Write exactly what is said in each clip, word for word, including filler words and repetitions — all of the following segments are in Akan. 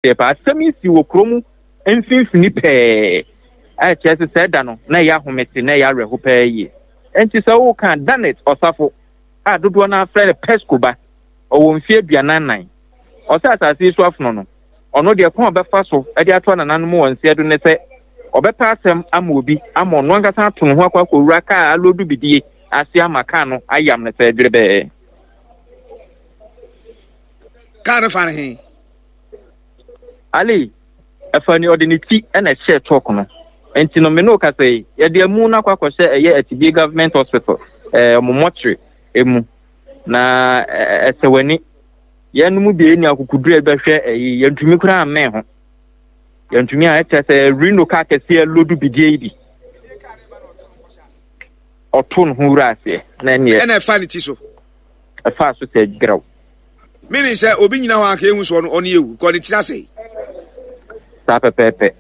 Deɛ paa, asɛm yi si wɔ kurom mfimfini pɛɛ a ɛkyerɛ sɛ sɛ ɛda no na ɛyɛ ahomete na ɛyɛ awerɛho pɛɛ yie. Enti sɛ woka Danet Ɔsafo a dodoɔ no afrɛ no Pesco ba, ɔwɔ mfeɛ aduanan nan. Ɔsɛ asase yi so afono no, ɔno deɛ kwan a ɔbɛfa so de ato anananom wɔ nseɛ do ne sɛ ɔbɛpɛ asɛm ama obi ama ɔno ankasa ato ne ho akɔ akɔwura kaa aloodu bidie ase ama kaa no ayam no sɛ dwerebɛɛ. Kaa no fa no he? Ali, ɛfa ni ɔde ne ti na ɛhyɛɛ chalk no. Nti no me ne wo kasa yi, yɛde amu no akɔ akɔhyɛ ɛyɛ Atibie Government Hospital, ɛɛ ɔmo mɔkyere emu. Na ɛsɛ w'ani. Yɛn no mu bi ni akokoduru a ɛbɛhwɛ ɛyi, yɛntumi koraa mmɛn ho. Yɛntumi a ɛkyerɛ sɛ Reno kaa kɛseɛ lodu bidie yi bi. Ɔto ne ho wura aseɛ na ɛneɛ. Ɛna ɛfa ne ti so. Ɛfa so sɛ grɛw. Meaning sɛ obi nyina hɔ anka ehu so ɔno ɔno ewu kɔ ne tiri asɛe. Saa pɛpɛɛpɛ.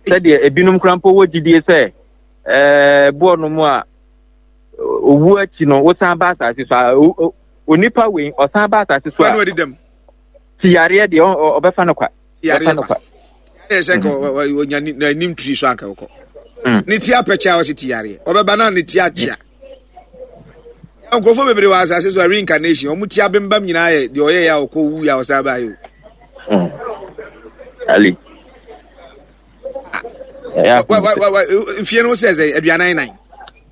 Sɛdeɛ ebinom koraa mpo wɔ gyidie sɛ ɛɛ boɔ no mu a owu akyi no wosan ba asase so a onipa wei ɔsan ba asase so a. Wɔn adi dɛm. Ti yareɛ deɛ ɔbɛfa no kwa. Ti yareɛ kwa. Yareɛ sɛ nka ɔnya n'anim tiri so anka ɔkɔ. Ne ti apɛkyɛ a ɔsi ti yareɛ ɔbɛba na ne ti akyea. Nkurɔfoɔ bebree wɔ asase so a reincarnation wɔn ti abembam nyinaa yɛ deɛ ɔyɛ yɛ a ɔkɔ wu yɛ a ɔsan ba yɛ o. Ali. Mfie no sɛ sɛ aduanan nan.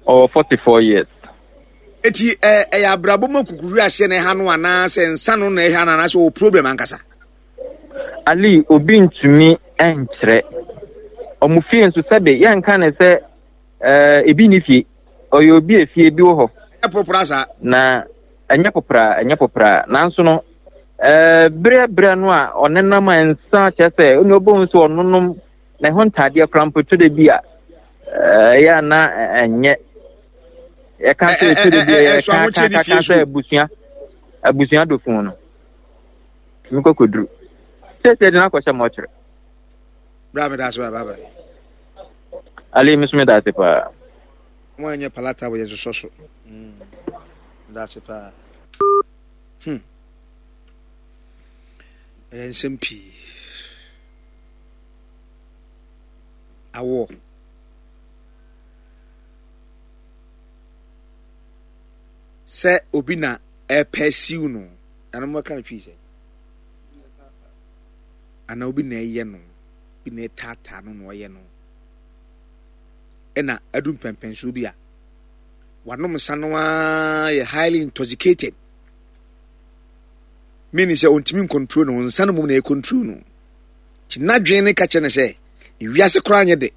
Ɔwɔ forty four years. Eti ɛ ɛyɛ abrabɔ mu akukuru ahyɛ na ɛha no anaasɛ nsa no na ɛha no anaasɛ ɔwɔ problem ankasa. Ali, obi ntumi nkyerɛ. Ɔmo fie nso sɛbe yɛnka ne sɛ ɛɛ ebi ni fie. Ɔyɛ obi efie bi wɔ hɔ. Ɛnyɛ popra saa. Na ɛnyɛ popra, ɛnyɛ popra. Nanso no, ɛɛ berɛ berɛ no a ɔnenam a nsa kyerɛ sɛ ɔne ɔbɛhu sɛ ɔnonom ne ho ntaadeɛ koraa mpo to de bi a ɛyɛ a na ɛnyɛ. Yɛka sɛ to de bi a yɛka ka ka ka sɛ abusua abusua dofo no. Tumi kɔkɔduru. Sɛsɛ de no akɔhyɛ mɔkyerɛ. Bra me da ase bye bye. Ali, me so me da ase paa. Mo anyɛ palata wɔ yɛn sosɔ so. Mm. Da ase paa. Hmm. Ɛyɛ nsɛm pii. Awɔ. Sɛ obi na ɛpɛ siw no, ɛno mo bɛka no twi sɛ. Ana obi na ɛyɛ no, obi na ɛtaataa no na ɔyɛ no. Ɛna adu mpɛmpɛnsoɔ bi a wanom nsa no ara yɛ highly intoxicated, meaning sɛ ɔntumi ncontrol no, nsa no mmom na ɛcontrol no. Nti n'adwene ne ka kyerɛ no sɛ ewiase koraa nyɛ de,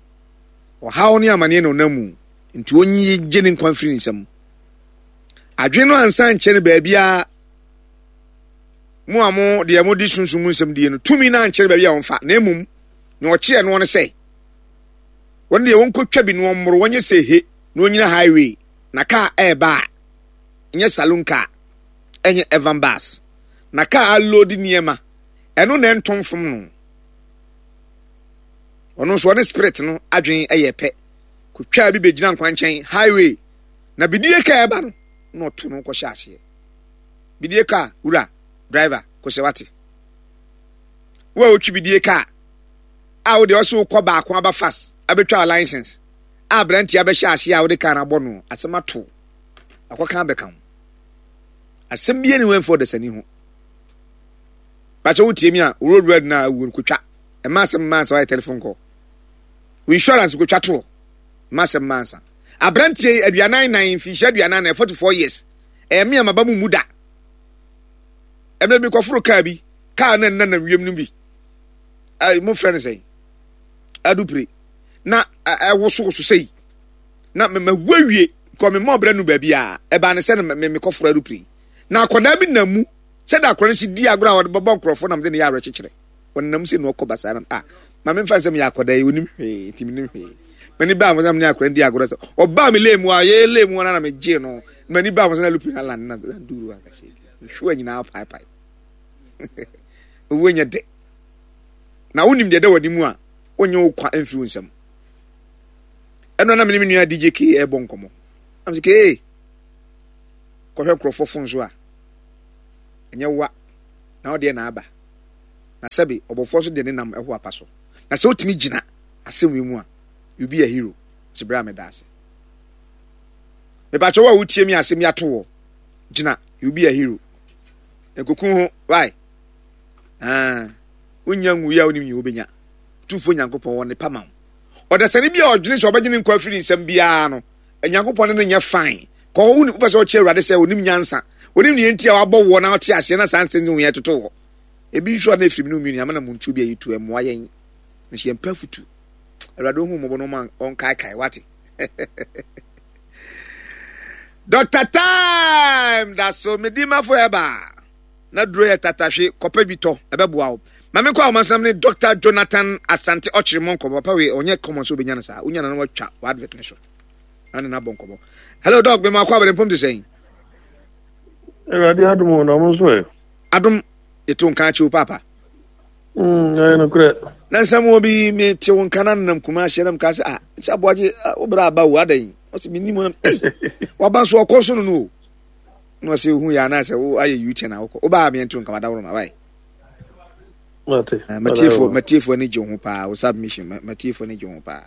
ɔhaw ne amaneɛ na ɔnam mu, nti ɔnyi gye ne nkwa mfiri ne nsam. Adwene no ansa nkyerɛ no baabiara. Mo a mo deɛ mo de sunsum mu nsɛm die no, tumi no ankyerɛ baabi a ɔmfa, na mmom nea ɔkyerɛ noɔ no sɛ wɔn deɛ wɔnkɔtwa bi na wɔmmoro, wɔnyɛ sɛ he na wɔnyina highway na kaa ɛreba a, ɛnyɛ saloon car, ɛnyɛ evan bus, na kaa alodi nneɛma, ɛno na ɛnto mfom no. Ɔno nso ɔne spirit no adwene ɛyɛ pɛ, kɔtwaa bi bɛgyina nkwankyɛn highway na bidie kaa ɛba no na ɔto no kɔhyɛ aseɛ. Bidie kaa wura driver kɔsɛ wate wo a wotwi bidie kaa a wode ɔsɛ wokɔ baako aba fast abɛtwa license a aberanteɛ abɛhyɛ aseɛ a wode kaa no abɔ no asɛm ato akɔka abɛka ho asɛm bie ne ho ɛmfa ɔdasani ho bakyɛ wotie mi a road road na awuo no kɔtwa ɛma asɛm mma ansa wayɛ telephone call wo insurance kɔtwa toɔ ɛma asɛm mma ansa aberanteɛ yi aduanan nan mfinhyia aduanan nan forty four years ɛyɛ me a maba mu mu da. Ɛmɛ mi kɔforo kaa bi, kaa na nna nam wiem no bi. Ɛɛ mo frɛ no sɛn? Adupire. Na ɛwosowoso sɛyi. Na mɛ mɛ wu awie kɔ me mɔ brɛ no baabi a ɛbaa ne sɛ no mɛ mekɔforo adupire. Na akwadaa bi nam mu sɛdeɛ akwadaa no si di agorɔ a wɔde bɛbɔ nkurɔfoɔ nam de ne yɛ awerɛkyekyerɛ. Ɔnam sɛ na ɔkɔ basaa nam a maame nfa nsɛm yɛ akwadaa yi onim hwee nti menim hwee. M'ani baa mo sɛ me ne akwadaa di agorɔ sɛ ɔbaa me lane mu a yɛyɛ lane mu na na megye no. M'ani baa mo sɛ na lupin alan na duru ankahyɛ nhwiwa nyinaa paepae. Owuo nyɛ dɛ. Na wonim deɛ ɛda w'anim a wonyɛ wo kwa mfiri wo nsam. Ɛno na me ne me nua D J K ɛrebɔ nkɔmmɔ. Am sɛ K kɔhwɛ nkurɔfoɔ fon so a ɛnyɛ wa na wodeɛ na aba. Na sɛbe ɔbɔfoɔ so de ne nam ɛho apa so. Na sɛ wotumi gyina asɛm yi mu a, you be a hero. Sɛ bere a meda ase. Mepakyɛ wo a wotie mi asɛm yi ato wɔ. Gyina, you be a hero. Nkoku ho, why? Ah, wonya nwu yi a wonim nyi wobɛnya. Tumfoɔ Nyankopɔn wɔ ne pa ma wo. Ɔdasani bi a ɔdwene sɛ ɔbɛgye ne nkwa afiri nsɛm biara no, Nyankopɔn ne no nyɛ fine. Kɔ hɔ, wopɛ sɛ ɔkyerɛ Awurade sɛ onim nyansa. Onim nea enti a wabɔ woɔ na ɔte aseɛ na saa nsɛm yi yɛ toto wɔ. Ebi nso a na efiri mu ne omienu ama na muntu bi a yɛtu ɛmmoa yɛn. Nso yɛn pɛ afutu. Awurade ohu mmɔbɔ no ma ɔnkaekae wate. Doctor Time da so medi mafo ɛba. Na duro yɛ tatahwe kɔpɛ bi tɔ ɛbɛboa wo. Ma menkɔ ahoma so na mene Doctor Jonathan Asante Ɔkyere mmɔ nkɔmmɔ. Papa wei ɔnyɛ common sɛ wobɛnya no saa. Wonya no na watwa w'advert no so. Na ne no abɔ nkɔmmɔ. Hello Doc, mema akɔ abɛde mpom te sɛn? Awurade adom o, na mo nso ɛ? Adom, yɛto nka akyi wo paapa. Mm, ɛyɛ nokorɛ. Na nsɛm wɔ bi mete wo nka na nenam kuma ahyɛ na meka sɛ ah, sɛ aboagye wo berɛ aba o adɛn? Ɔsɛ mennim nam ei, waba nso ɔkɔ so no no o. Na ɔsɛ hu yɛ anaasɛ wo ayɛ U-turn a wokɔ. Wobaa meɛnto nka madaworo ma wae. Mate. Eh, matiefoɔ matiefoɔ ani gye ho paa wo submission matiefoɔ ani gye ho paa.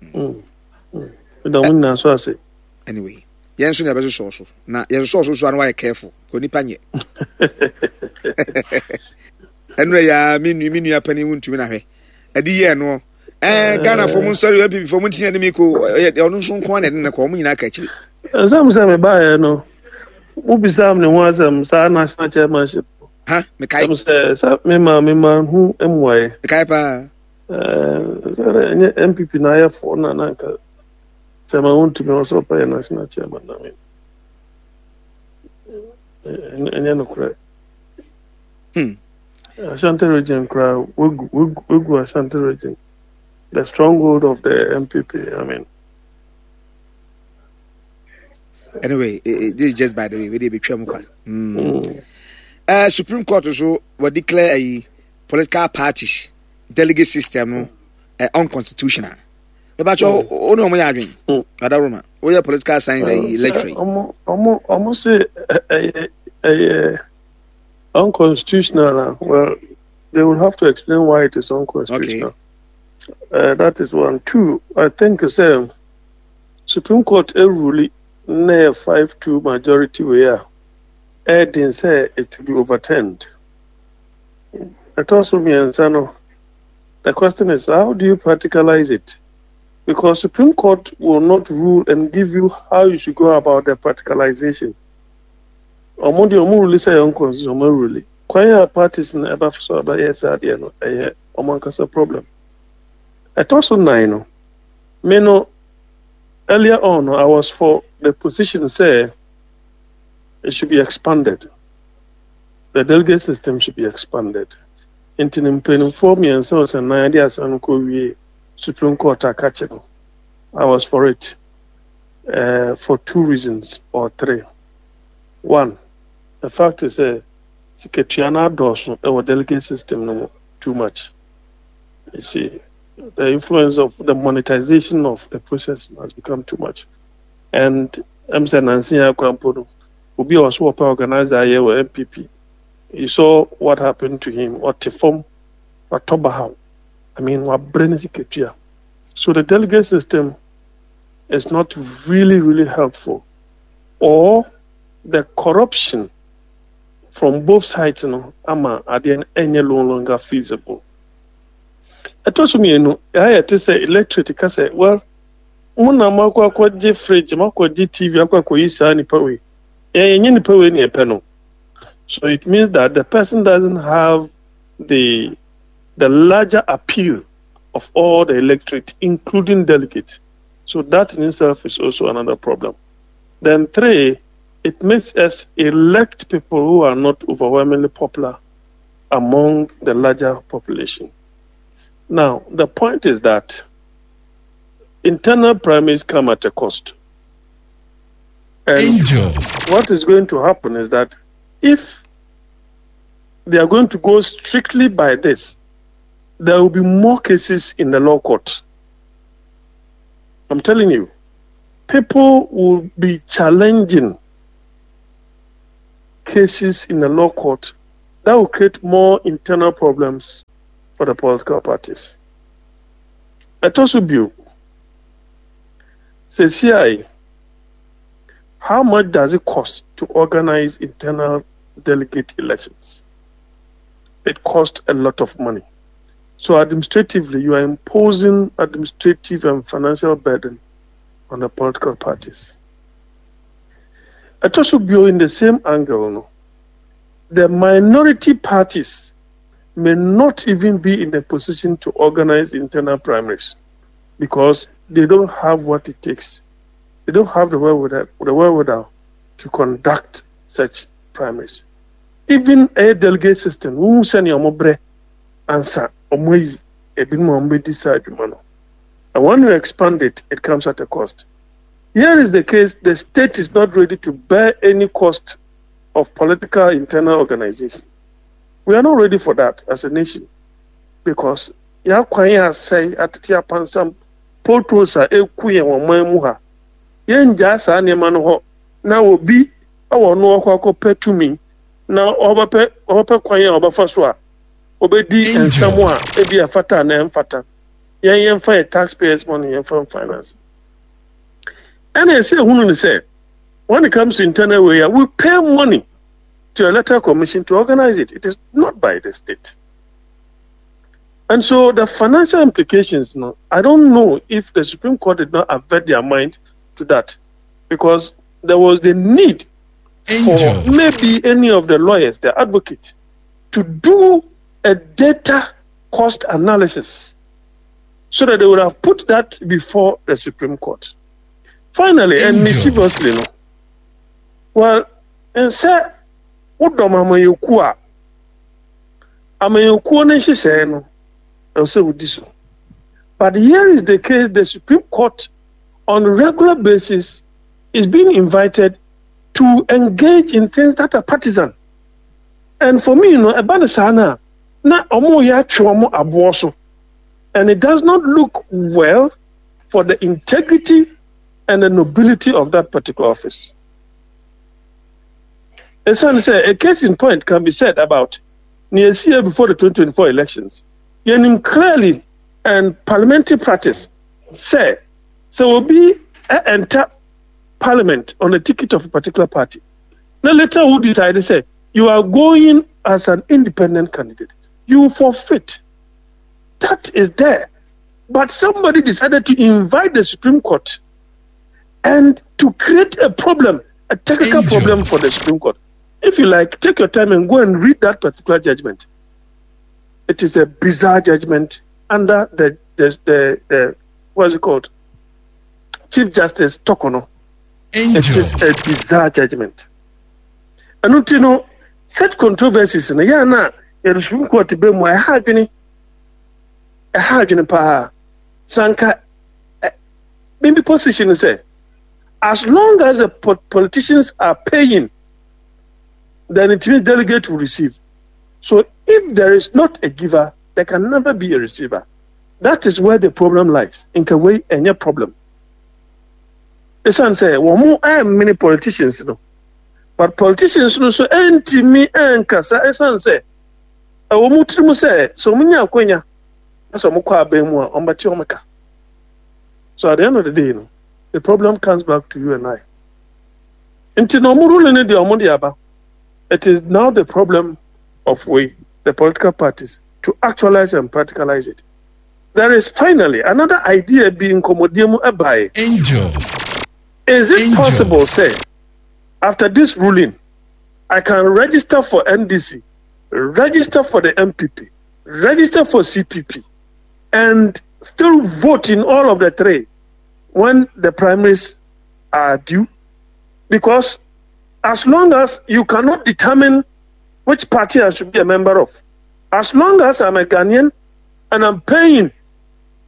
Mm. Meda mo nyinaa so ase. Anyway, yɛn nso na yɛbɛsosɔ so na yɛsosɔ so so a na wayɛ careful kò nipa nyɛ. Ɛnura ya me nua me nua panin wuntumi na hwɛ ɛde yɛ ɛnoɔ ɛɛ Ghana fo mo nsɔre N P P fo mo ntina ne mi ko ɔyɛ ɔno nso nko ara na ɛde ne kɔ ɔmo nyinaa ka akyire. Ɛsɛm sɛ mebaeɛ no wobisaa me ne ho asɛm saa national chairmanship. Ha mekae. Ɛm sɛ sɛ mema mema ho mmuaeɛ. Mekae paa. Ɛɛ ɛnyɛ N P P na ayɛ fo na na nka chairman wontumi ɔsɛ ɔpɛ yɛ national chairman na me ɛnyɛ nokorɛ. Hmm. Ashanti Region koraa wegu wegu wegu Ashanti Region, the stronghold of the N P P, I mean. Anyway, eh, eh, this is just by the way. We dey betwa mu kwa. Mm. Mm. Uh, Supreme Court so were declare a political parties delegate system no uh, unconstitutional. But you o no mo ya adwen. Ada Roma. Wo yɛ political science uh, lecturer. Omo omo omo say eh eh unconstitutional. Well, they will have to explain why it is unconstitutional. Okay. Uh, that is one. Two, I think sɛ Supreme Court rule na five two majority wei a ɛden sɛ it will be overturned. Ɛtɔ so mmiɛnsa no, the question is, how do you practicalize it? Because Supreme Court will not rule and give you how you should go about the practicalization. Ɔmo deɛ, ɔmo rule sɛ ɛyɛ unconstitutional, ɔmo rule. Kwan a parties no ɛba so ɛbɛyɛ saa adeɛ no, ɛyɛ ɔmo ankasa problem. Ɛtɔ so nnan no, me no, earlier on I was for the position sɛ it should be expanded. The delegate system should be expanded. Nti ne mpanimfoɔ mmiɛnsa ɔsɛ nan de asan no kɔ wie Supreme Court akakye no. I was for it uh, for two reasons or three. One, the fact is sɛ sikatua no adɔɔso ɛwɔ delegate system no mu too much. You see, the influence of the monetization of the process has become too much. And I'm saying Nancy Akwampo no, obi a ɔso wɔpɛ organizer ayɛ wɔ N P P. You saw what happened to him. Ɔte fam, watɔ bahaw. I mean, wabrɛ ne sikatua. So the delegate system is not really, really helpful. Or the corruption from both sides no ama adeɛ no ɛnyɛ no longer feasible. Ɛtɔ so mmienu, ɛha te sɛ electorate ka sɛ, well, mo na mo akɔ akɔgye fridge, mo akɔgye T V, akɔ akɔyi saa nipa wei. Yɛn yɛnyɛ nipa wei na yɛpɛ no. So it means that the person doesn't have the the larger appeal of all the electorate, including delegates. So that in itself is also another problem. Then three, it makes us elect people who are not overwhelmingly popular among the larger population. Now, the point is that internal primaries come at a cost. And Angel. What is going to happen is that if they are going to go strictly by this, there will be more cases in the law court. I'm telling you, people will be challenging cases in the law court That will create more internal problems for the political parties. Ɛtɔ so bio, seesei, how much does it cost to organize internal delegate elections? It costs a lot of money. So administratively, you are imposing administrative and financial burden on the political parties. Ɛtɔ so bio, in the same angle, no, the minority parties may not even be in a position to organize internal primaries because they don't have what it takes. They don't have the wherewithal, the wherewithal to conduct such primaries. Even a delegate system, wo send your brɛ ansa ɔmo ayi ebinom a ɔmo bɛdi saa adwuma no. And when you expand it, it comes at a cost. Here is the case: the state is not ready to bear any cost of political internal organization. We are not ready for that as a nation because yɛakwan yɛ asɛe atete apansam potholes a eku yɛn wɔ man mu ha yɛngyaa saa nneɛma no hɔ na obi wɔ no ɔkɔ akɔpɛ tumi na ɔbɛpɛ ɔbɛpɛ kwan a ɔbɛfa so a ɔbɛdi nsɛm a ebi ɛfata na ɛmfata yɛn yɛmfa yɛ taxpayers money yɛmfa finance ɛna ɛsɛ ehunu ne sɛ when it comes to internal way we pay money to electoral commission to organize it it is not by the state and so the financial implications no i don't know if the supreme court did not avert their mind to that because there was the need for maybe any of the lawyers the advocate to do a data cost analysis so that they would have put that before the Supreme Court. Finally, and mischievously, no. Well, and sɛ wodɔm amanyɔkuo a amanyɔkuo no nhyehyɛeɛ no ɛwɔ sɛ wodi so. But here is the case the Supreme Court on a regular basis is being invited to engage in things that are partisan. And for me, you know, ɛba no saa no a na ɔmo yɛ atwe ɔmo aboɔ so. And it does not look well for the integrity and the nobility of that particular office. Ɛsiane sɛ a case in point can be said about nea esi before the twenty twenty four elections. Yɛnim clearly and parliamentary practice sɛ sɛ obi enter parliament on a ticket of a particular party. Now later who decide sɛ you are going as an independent candidate, you forfeit. That is there. But somebody decided to invite the Supreme Court and to create a problem, a technical Angel. problem for the Supreme Court. If you like, take your time and go and read that particular judgment. It is a bizarre judgment under the the the, the what is it called? Chief Justice Torkornoo. It is a bizarre judgment. And you know, such controversies no yeah na the Supreme Court be mu ɛha adwene ɛha adwene paa sanka maybe position sɛ as long as the politicians are paying then it means delegate will receive so if there is not a giver there can never be a receiver that is where the problem lies nka wei ɛnyɛ problem ɛsiane sɛ wɔn mo ɛmmene politicians no but politicians no nso ɛntumi ɛnkasa ɛsiane sɛ ɛwɔ mu tirim sɛ sɛ wɔn nya akwanya na sɛ wɔn kɔ aban mu a wɔn bɛte wɔn ka so at the end of the day no the problem comes back to you and I nti na wɔn ruling no deɛ wɔn de aba it is now the problem of we the political parties to actualize and practicalize it there is finally another idea bi nkɔmɔdie mu ɛbaeɛ Angel. is it Angel. possible sɛ after this ruling I can register for NDC register for the NPP register for CPP and still vote in all of the three when the primaries are due because as long as you cannot determine which party I should be a member of, as long as I'm a Ghanaian and I'm paying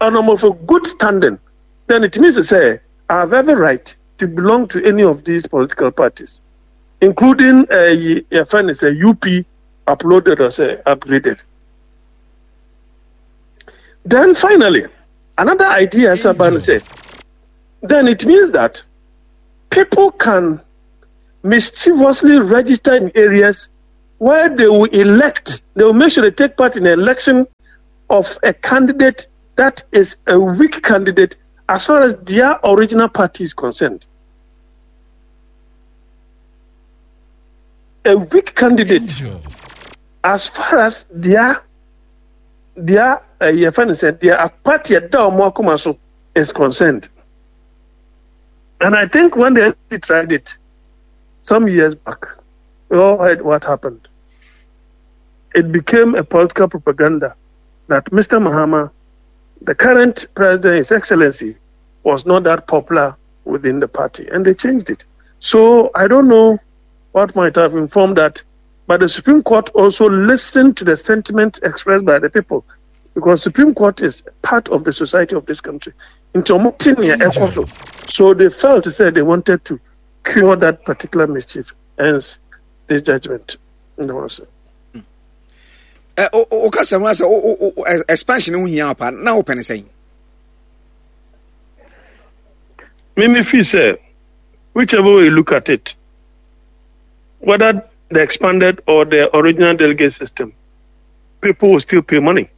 and I'm of a good standing, then it means to say I have every right to belong to any of these political parties, including a, a friend is a UP uploaded or sɛ upgraded. Then finally, another idea Saban sɛ, then it means that people can mischievously register in areas where they will elect, they will make sure they take part in the election of a candidate that is a weak candidate as far as their original party is concerned. A weak candidate as far as their their uh, said their party is concerned. And I think when they tried it some years back, we all heard what happened. It became a political propaganda that Mr. Mahama, the current president, His Excellency, was not that popular within the party, and they changed it. So I don't know what might have informed that, but the Supreme Court also listened to the sentiment expressed by the people, because Supreme Court is part of the society of this country. So they felt to say they wanted to cure that particular mischief, hence this judgment. O kasa mu asɛ expansion ho hia pa na wopɛ ne sɛn? Me feel sɛ whichever way you look at it, whether the expanded or the original delegate system, people will still pay money.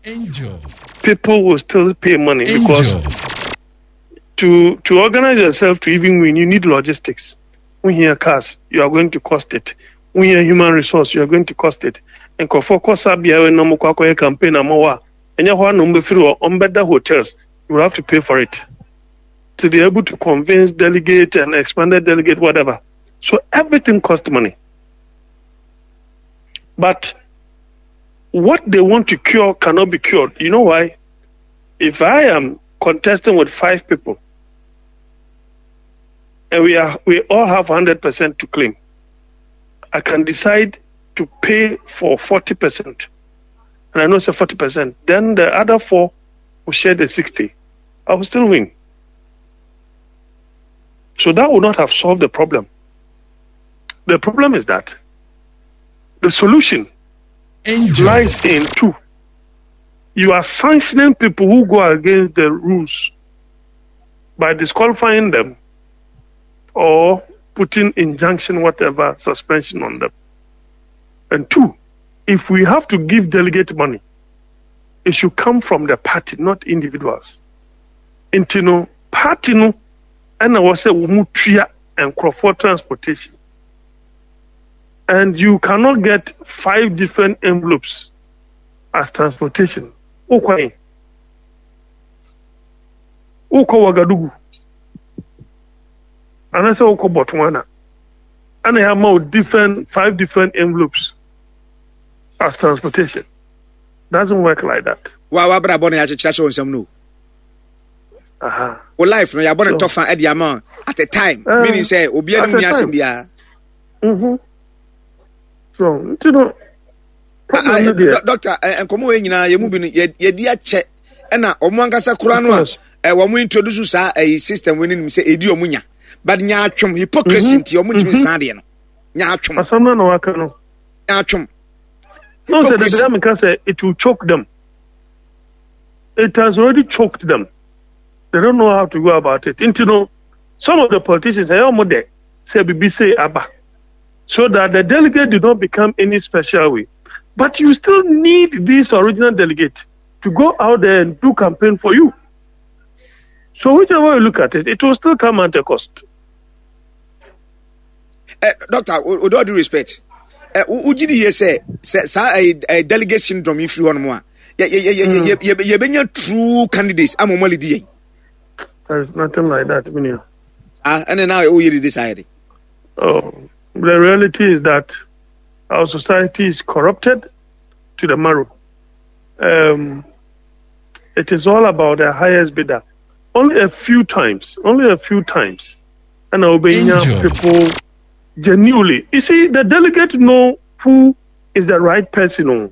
Angel. People will still pay money. Angel. Because to to organize yourself to even win, you need logistics. When you hear cars, you are going to cost it. When you hear human resource, you are going to cost it. Nkurɔfoɔ kɔ saa beaeɛ na ɔmo kɔ akɔyɛ campaign ama wo a, ɛnyɛ hɔ a na ɔmo bɛfiri hɔ, ɔmo bɛda hotels. You will have to pay for it to be able to convince delegate and expanded delegate, whatever. So everything costs money. But what they want to cure cannot be cured. You know why? If I am contesting with five people and we are we all have hundred percent to claim, I can decide to pay for forty percent. And I know it's a forty percent. Then the other four will share the sixty. I will still win. So that would not have solved the problem. The problem is that the solution Angel. lies in two. You are sanctioning people who go against the rules by disqualifying them or putting injunction, whatever, suspension on them. And two, if we have to give delegate money, it should come from the party, not individuals. Nti no, party no, ɛna wɔ sɛ wɔn mu tua nkurɔfoɔ transportation. And you cannot get five different envelopes as transportation. Wokɔ yi? Wokɔ Ouagadougou? Anaasɛ wokɔ Botswana? Ɛna yɛama wo different five different envelopes as transportation. Doesn't work like that. Wa wabrabɔ no yɛakyekyerɛ hyɛ wo nsɛm no. Aha. Wo life no yɛabɔ no tɔfa de ama at a time, Uh, meaning sɛ obiara ne mu ni asɛm biara. Mm-hmm. So, nti no, problem no deɛ. Doctor, nkɔmɔ wei nyinaa yɛ mu bi no yɛdi akyɛ ɛna ɔmo ankasa kora no a wɔn introduce saa ɛyi system wei nim sɛ edi ɔmo nya, but nya atwom hypocrisy nti ɔmo ntumi nsan adeɛ no nya atwom. Asɛm no na waka no. Nya atwom. No, sɛ the dame ka sɛ it will choke them. It has already choked them. They don't know how to go about it. Nti no, some of the politicians ɛyɛ ɔmo dɛ sɛ bibi say aba so that the delegate do not become any special way. But you still need this original delegate to go out there and do campaign for you. So whichever way you look at it, it will still come at a cost. Uh, doctor, with all due respect, wogye di yie sɛ sɛ saa ɛɛ delegate syndrome yi firi hɔ nom a yɛbɛnya true candidates ama ɔmo alead yɛn? There is nothing like that, Minia. Ah, ɛnna na oyɛ dede saa yɛ de. Oh, the reality is that our society is corrupted to the marrow. Um, it is all about the highest bidder. Only a few times, only a few times, and obeying people genuinely. You see, the delegate know who is the right person. Oh.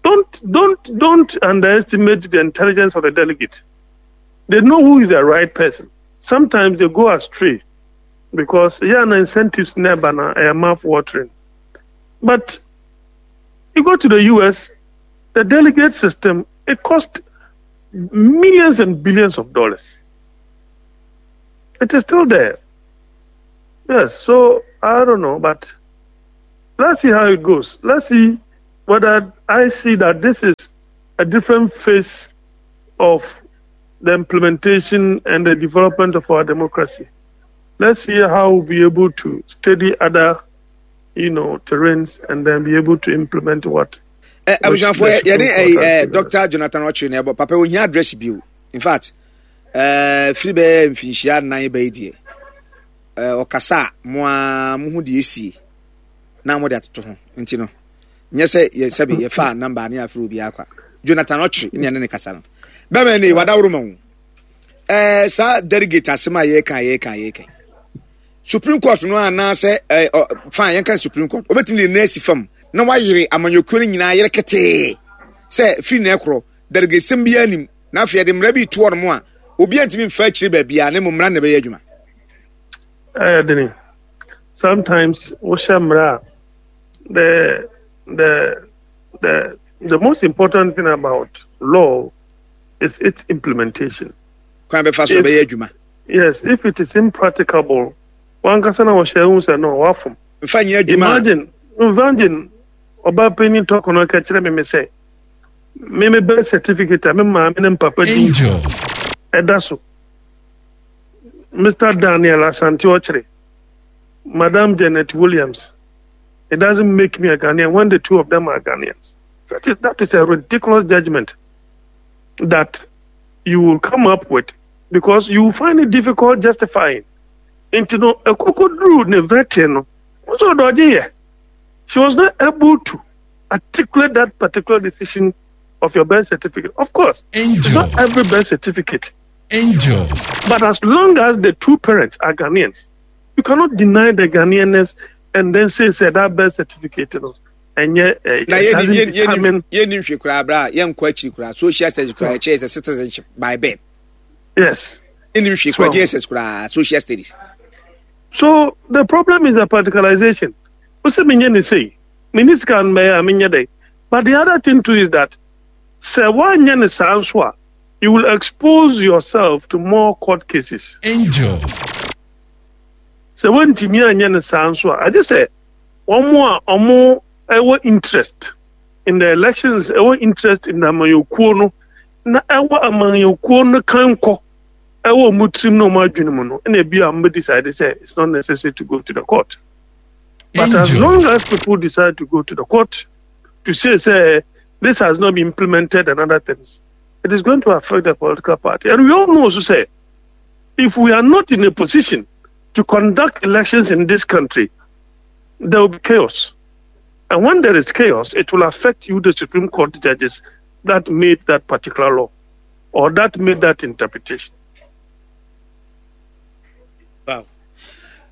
Don't don't don't underestimate the intelligence of the delegate. They know who is the right person. Sometimes they go astray because yeah, no incentives never na mouth watering. But you go to the U S, the delegate system, it cost millions and billions of dollars. It is still there. Yes, so I don't know, but Let's see how it goes. Let's see whether I see that this is a different phase of the implementation and the development of our democracy. Let's see how we'll be able to steady other, you know, terrains and then be able to implement what. Eh, abusuafoɔ yɛne eh, eh, Doctor Jonathan Ɔkyere na ɛbɔ papa ohia address bio. In fact, eh, firi bɛyɛ mfinhyia nnan bɛyɛ deɛ eh, ɔkasa a mo a mo ho deɛ esie na mo de atoto ho nti no nyɛ sɛ yɛ sɛbi yɛfa namba ne afiri obi akwa. Jonathan Ɔkyere ne ɛne ne kasa no bɛmɛ ne wadaworo ma wo ɛɛ saa delegate asɛm a yɛka yɛka yɛka Supreme Court no anaasɛ ɛɛ ɔ fine, yɛnka Supreme Court obetumi de nan asi fam na wayere amanyɔkuo no nyinaa yere ketee sɛ firi na ɛkorɔ delegate sɛm biara nim na afei yɛde mmara bi to hɔ nom a obiara ntumi mfa akyire baabiara ne mo mmara na ɛbɛyɛ adwuma. Ɛyɛ dene. Sometimes wohyɛ mmara a the the the the most important thing about law is its implementation. Kwan bɛfa so ɛbɛyɛ adwuma. Yes, if it is impracticable, wankasa na wɔhyɛ ehu sɛ no wafom. Nfa nyɛ adwuma. Imagine, imagine ɔbaa panyin tɔkɔ no ka kyerɛ me me sɛ me me birth certificate a me maame ne mpapa din ɛda so. Mister Daniel Asante Okyere, Madam Janet Williams. It doesn't make me a Ghanaian when the two of them are Ghanaians. That is, that is a ridiculous judgment that you will come up with because you will find it difficult justifying. Nti no, ekokoduru ne vetting no, nso ɔdɔgye yɛ. She was not able to articulate that particular decision of your birth certificate. Of course, Angel. Not every birth certificate. Angel. But as long as the two parents are Ghanaians, you cannot deny the Ghanaianness and then say, say that birth certificate, you know, and yet, uh, na it doesn't yɛni determine. Yɛni nhwɛ koraa bra yɛnkɔ akyiri koraa social studies koraa ɛkyerɛ sɛ citizenship by birth. Yes. Yɛni nhwɛ koraa So- J S S koraa social studies. So the problem is the practicalization. Wose menyɛ ne sei, me sika no bɛyɛ a menyɛ dɛ. But the other thing too is that sɛ woanyɛ ne saa nso a, you will expose yourself to more court cases. Angel. Sɛ wontumi anyɛ ne saa nso a, agye sɛ wɔn a wɔn ɛwɔ interest in the elections, ɛwɔ interest in the amanyɔkuo no, na ɛwɔ amanyɔkuo no kan kɔ ɛwɔ wɔn tirim na wɔn adwene mu no, ɛna ebi a wɔn bɛ decide sɛ it's not necessary to go to the court. But as Angel. long as people decide to go to the court to say, say this has not been implemented and other things, it is going to affect the political party. And we all know also say, if we are not in a position to conduct elections in this country, there will be chaos. And when there is chaos, it will affect you, the Supreme Court judges that made that particular law or that made that interpretation. Wow.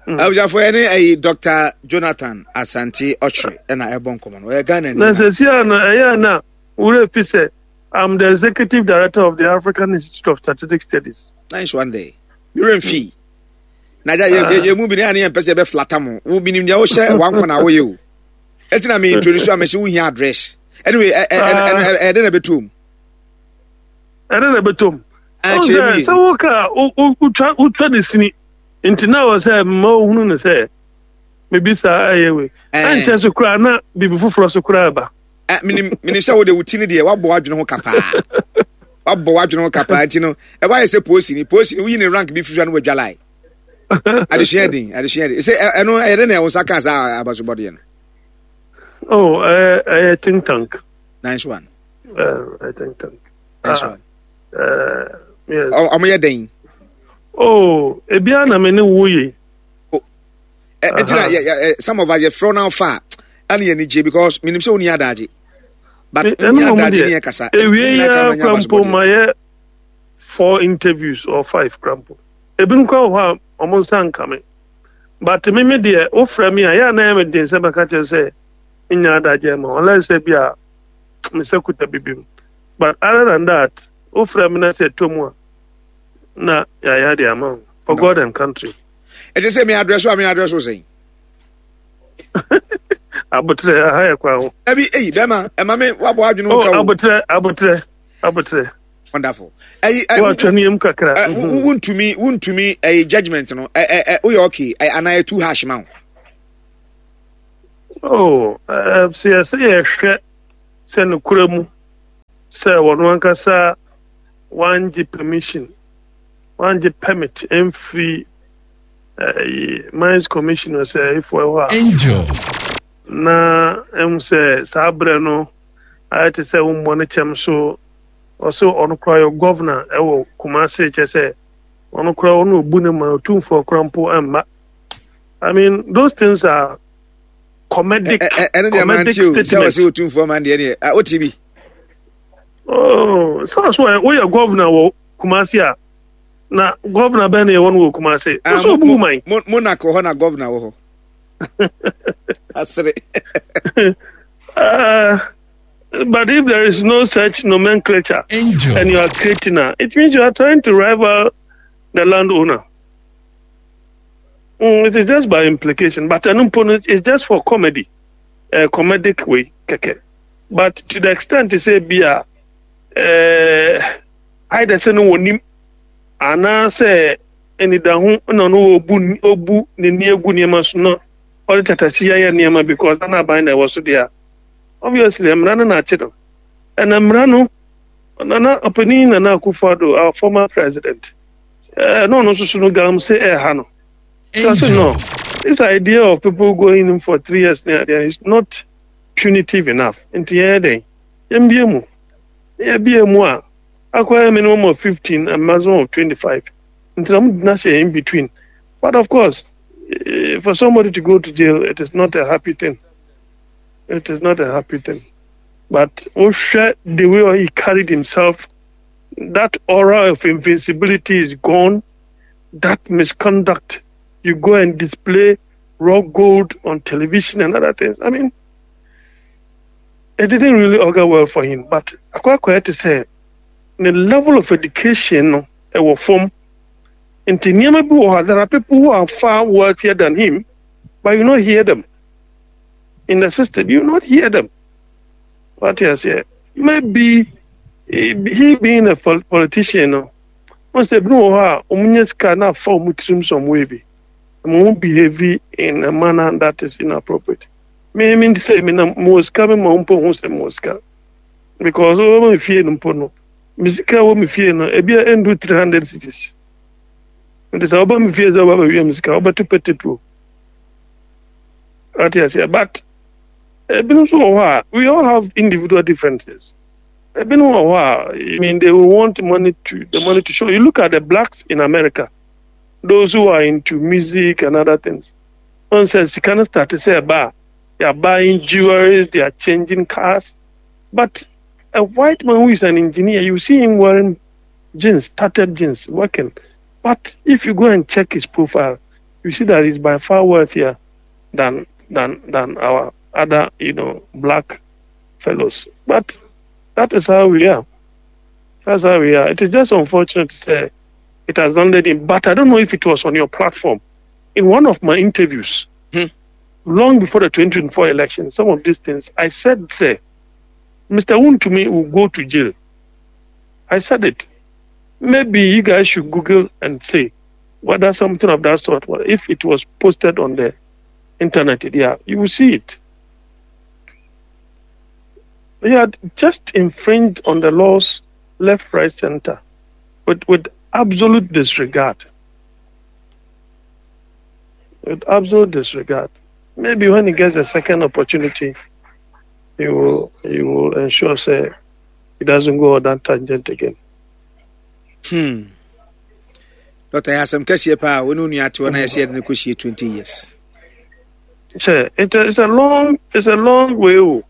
Abusuafo, yɛne ɛyi Doctor Jonathan Asante Ɔkyere ɛna ɛbɔ nkɔmɔ no, ɔyɛ Ghana ni. Na sɛsi a no ɛyɛ na wura fi sɛ I'm the executive director of the African Institute of Strategic Studies. Nice one there. Mewura mfi na gya yɛ yɛ mu bi ne a ne yɛn mpɛ sɛ yɛbɛ flata mo wo bi nim deɛ wohyɛ wankɔ na woyɛ o ɛti na me introduce a mɛhyɛ wohia address. Anyway, ɛ ɛ ɛ ɛdɛ na ɛbɛtɔ mu. Ɛdɛ na ɛbɛtɔ mu. Kyerɛ mu yie. Sɛ woka wotwa wotwa ne sini nti na wɔ sɛ mma ohunu ne sɛ mebisa ɛyɛ wei ɛnkyɛ so koraa na biribi foforɔ so koraa ba. Menim menim sɛ wode wo ti no deɛ wabɔ w'adwene ho kapaa, wabɔ w'adwene ho kapaa nti no ɛwɔ ayɛ sɛ polisi ni polisi ni woyi ne rank bi firi so a no wadwa lie. Adesua den, adesua den sɛ ɛno ɛyɛ de na ɛwo nsa kaa saa abasobɔdeɛ no. Oh, ɛyɛ ɛyɛ think tank. Nice one. Ɛyɛ think tank. Nice one. Uh, yes. Ɔmo yɛ den. Oh, ebia na me ne wo yi. Ɛti na yɛ yɛ some of us yɛ frɛ now fa ɛna yɛ ni gye because minim sɛ oni adagye. But oni adagye ni yɛ kasa. Ewie yi ara krampo ma yɛ four interviews or five krampo. Ebinom kora wɔ hɔ a ɔmo nsa nka me. But me me deɛ wofrɛ me a yɛ a na yɛ me den sɛ bɛka kyerɛ sɛ nya adagye ma unless sɛ bi a me sɛ kuta bibi mu. But other than that, wofrɛ me na sɛ ɛtɔ mu a na yɛayɛ de ama wo for God and country. Ɛte sɛ me address a me address wo sɛn? Abotrɛ aha yɛ kwan ho. Ɛbi eyi bɛrima ɛma me wabɔ adwene ho Oh, ka wo. Abotrɛ, abotrɛ, abotrɛ. Wonderful. Ɛyi ɛ Wɔatwa ne yam kakra. ɛ wo wuntumi wuntumi ɛyi judgement no ɛ ɛ ɛ woyɛ okay ɛ anaa ɛ too harsh ma wo? Oh, uh, sɛ yɛsɛ yɛhwɛ sɛ nokora mu sɛ wɔno ankasa wangye permission, wangye permit mfiri uh, Mines Commission sɛ ɛfoɔ hɔ a Angel. Na ɛhu sɛ saa berɛ no ayɛ te sɛ wommɔ no kyɛm so. Ɔsɛ ɔno koraa yɛ governor ɛwɔ Kumase, kyɛ sɛ ɔno koraa ɔno obu ne ma Otumfoɔ koraa mpo ɛmma. I mean, those things are comedic. Ɛno deɛ comedic mante o, sɛ statement. Wɔsɛ Otumfoɔ man deɛ deɛ wote bi. Oh, sɛ so woyɛ governor wɔ Kumase a, na governor bɛn na yɛwɔ no wɔ Kumase? Ah, ɔsɛ mo- obu mo- man. mo- monarch wɔ hɔ na governor wɔ hɔ asere. Uh, but if there is no such nomenclature Angel. And you are creating a, it means you are trying to rival the landowner. Mm, it is just by implication, but an opponent is just for comedy, a comedic way, keke. But to the extent to say, be a, uh, either sɛ no wɔnim anaasɛ anidaho na ɔno obu obu n'ani egu nneɛma so na ɔde tatasi ayɛ nneɛma because ana aban na ɛwɔ so deɛ a, obviously mmara no na akye no. Ɛna mmara no, Nana ɔpanin Nana Akufo-Addo, our former president, ɛɛ na ɔno nso so no galamsey ɛɛha no. So no, this idea of people going in for three years ne adeɛ is not punitive enough. Nti yɛn dɛn, yɛmbie mu, yɛbie mu a, akɔyɛ minimum of fifteen and maximum of twenty-five. Nti na mo gyina hyɛ in between. But of course, eh, for somebody to go to jail, it is not a happy thing. It is not a happy thing. But wohwɛ the way he carried himself, that aura of invincibility is gone. That misconduct, you go and display raw gold on television and other things. I mean, it didn't really augur well for him. But akɔ to say, the level of education no, ɛwɔ fam. Nti nneɛma bi wɔ hɔ a, there are people who are far wealthier than him, but you not hear them in the system. You not hear them. What you say? Maybe eh, he being a pol- politician, no. Wɔn sɛ ebi wɔ hɔ a wɔn nyɛ sika na afa wɔn tirim some way bi. Wɔn behave in a manner that is inappropriate. Me me sɛ me na mo wɔ sika, me ma wɔn mpo ho sɛ mo wɔ sika because wɔn mi fie no mpo no, me sika wɔ mi fie no ebi a endu three hundred cedis. Nti sɛ ɔba mi fie sɛ ɔba bɛwia mi sika, ɔbɛto petetuo. Ate aseɛ? But ebinom nso wɔ hɔ a, we all have individual differences. Ebinom wɔ hɔ a, I mean, they will want money to the money to show. You look at the blacks in America, those who are into music and other things. Wɔn sɛ sika no start sɛ ɛba a, they are buying jewelry, they are changing cars. But a white man who is an engineer, you see him wearing jeans, tattered jeans, working. But if you go and check his profile, you see that he's by far wealthier than than than our other, you know, black fellows. But that is how we are. That's how we are. It is just unfortunate to say it has landed in. But I don't know if it was on your platform. In one of my interviews, Hmm. long before the twenty twenty-four election, some of these things I said, say, Mister Wontumi will go to jail. I said it. Maybe you guys should Google and say whether something of that sort, well, if it was posted on the internet, yeah, you will see it. He had just infringed on the laws left, right, center with, with absolute disregard. With absolute disregard. Maybe when he gets a second opportunity, he will he will ensure say he doesn't go on that tangent again. Hmm. Doctor, yɛ asɛm kɛseɛ paa. Wo ne wo nua te hɔ na yɛsɛ yɛde no kɔhyie twenty years. Sure, it, it's a long it's a long way. Oh.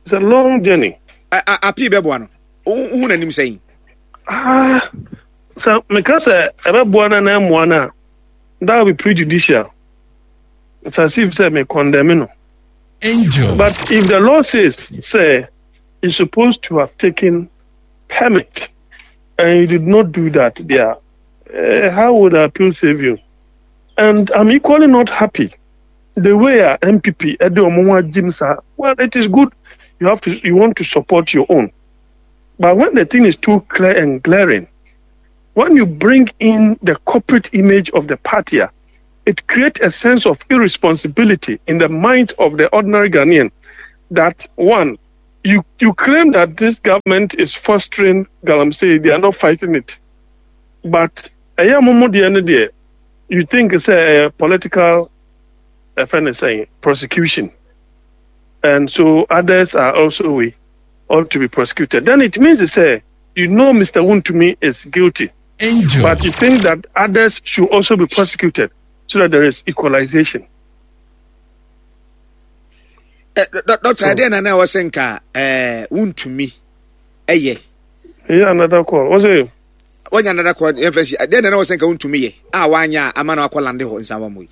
It's a long journey. A- a- appeal bɛboa no? Wohu n'anim sɛn? Ah, so because ɛbɛboa no na ɛmmoa no a, that will be prejudicial. It's as if sɛ me condemn no. Angel. But if the law says, say, you're supposed to have taken permit and you did not do that there, uh, how would appeal save you? And I'm equally not happy the way a N P P ɛde ɔmo ho agyim saa. Well, it is good you have to you want to support your own, but when the thing is too clear and glaring, when you bring in the corporate image of the party, ah, it creates a sense of irresponsibility in the mind of the ordinary Ghanaian that one, you, you claim that this government is fostering Galamsey, they are not fighting it. But you think it's a political uh, prosecution. And so others are also we ought to be prosecuted. Then it means to say, you know Mister Wontumi is guilty. Angel. But you think that others should also be prosecuted so that there is equalization. Uh, Doctor, I didn't know was saying, uh, Wontumi. Eh, yeah. Yeah, another call. What's it? When another call, I didn't know was saying, Wontumi. Ah, wanya, amano akolande ho in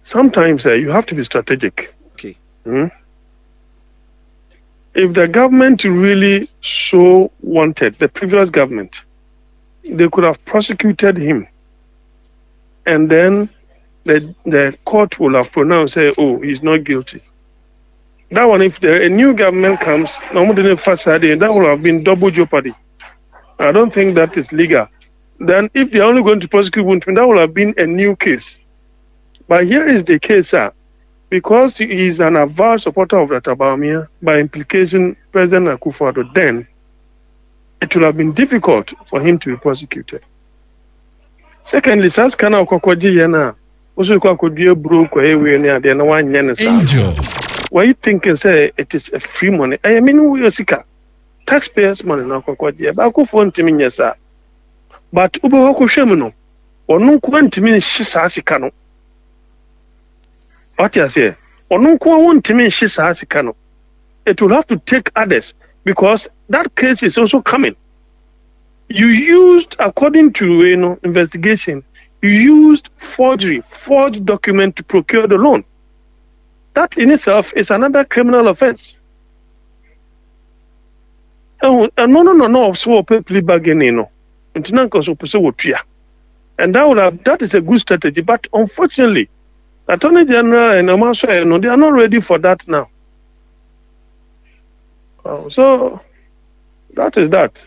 Sometimes uh, you have to be strategic. Okay. Hmm? If the government really so wanted, the previous government, they could have prosecuted him. And then the, the court will have pronounced, say, oh, he's not guilty. That one, if the, a new government comes, that will have been double jeopardy. I don't think that is legal. Then if they're only going to prosecute Wontumi, that will have been a new case. But here is the case, sir. Because he is an avowed supporter of Doctor Bawumia, by implication, President Akufo-Addo, then it would have been difficult for him to be prosecuted. Secondly, Saskana Okokoji Yena, also Kokoji broke away near the one Angel. Why you thinking say it is a free money? I mean, we are taxpayers' money now, Kokoji, but Akufo sir. But Ubo Shemino, or no quantum Shisasikano. What you say? It will have to take others because that case is also coming. You used, according to you know, investigation, you used forgery, forged document to procure the loan. That in itself is another criminal offense. Oh, no, no, no, no. So plea bargaining, no. And that would have, that is a good strategy, but unfortunately, Attorney General and Omaswa, no, they are not ready for that now. Oh, so that is that.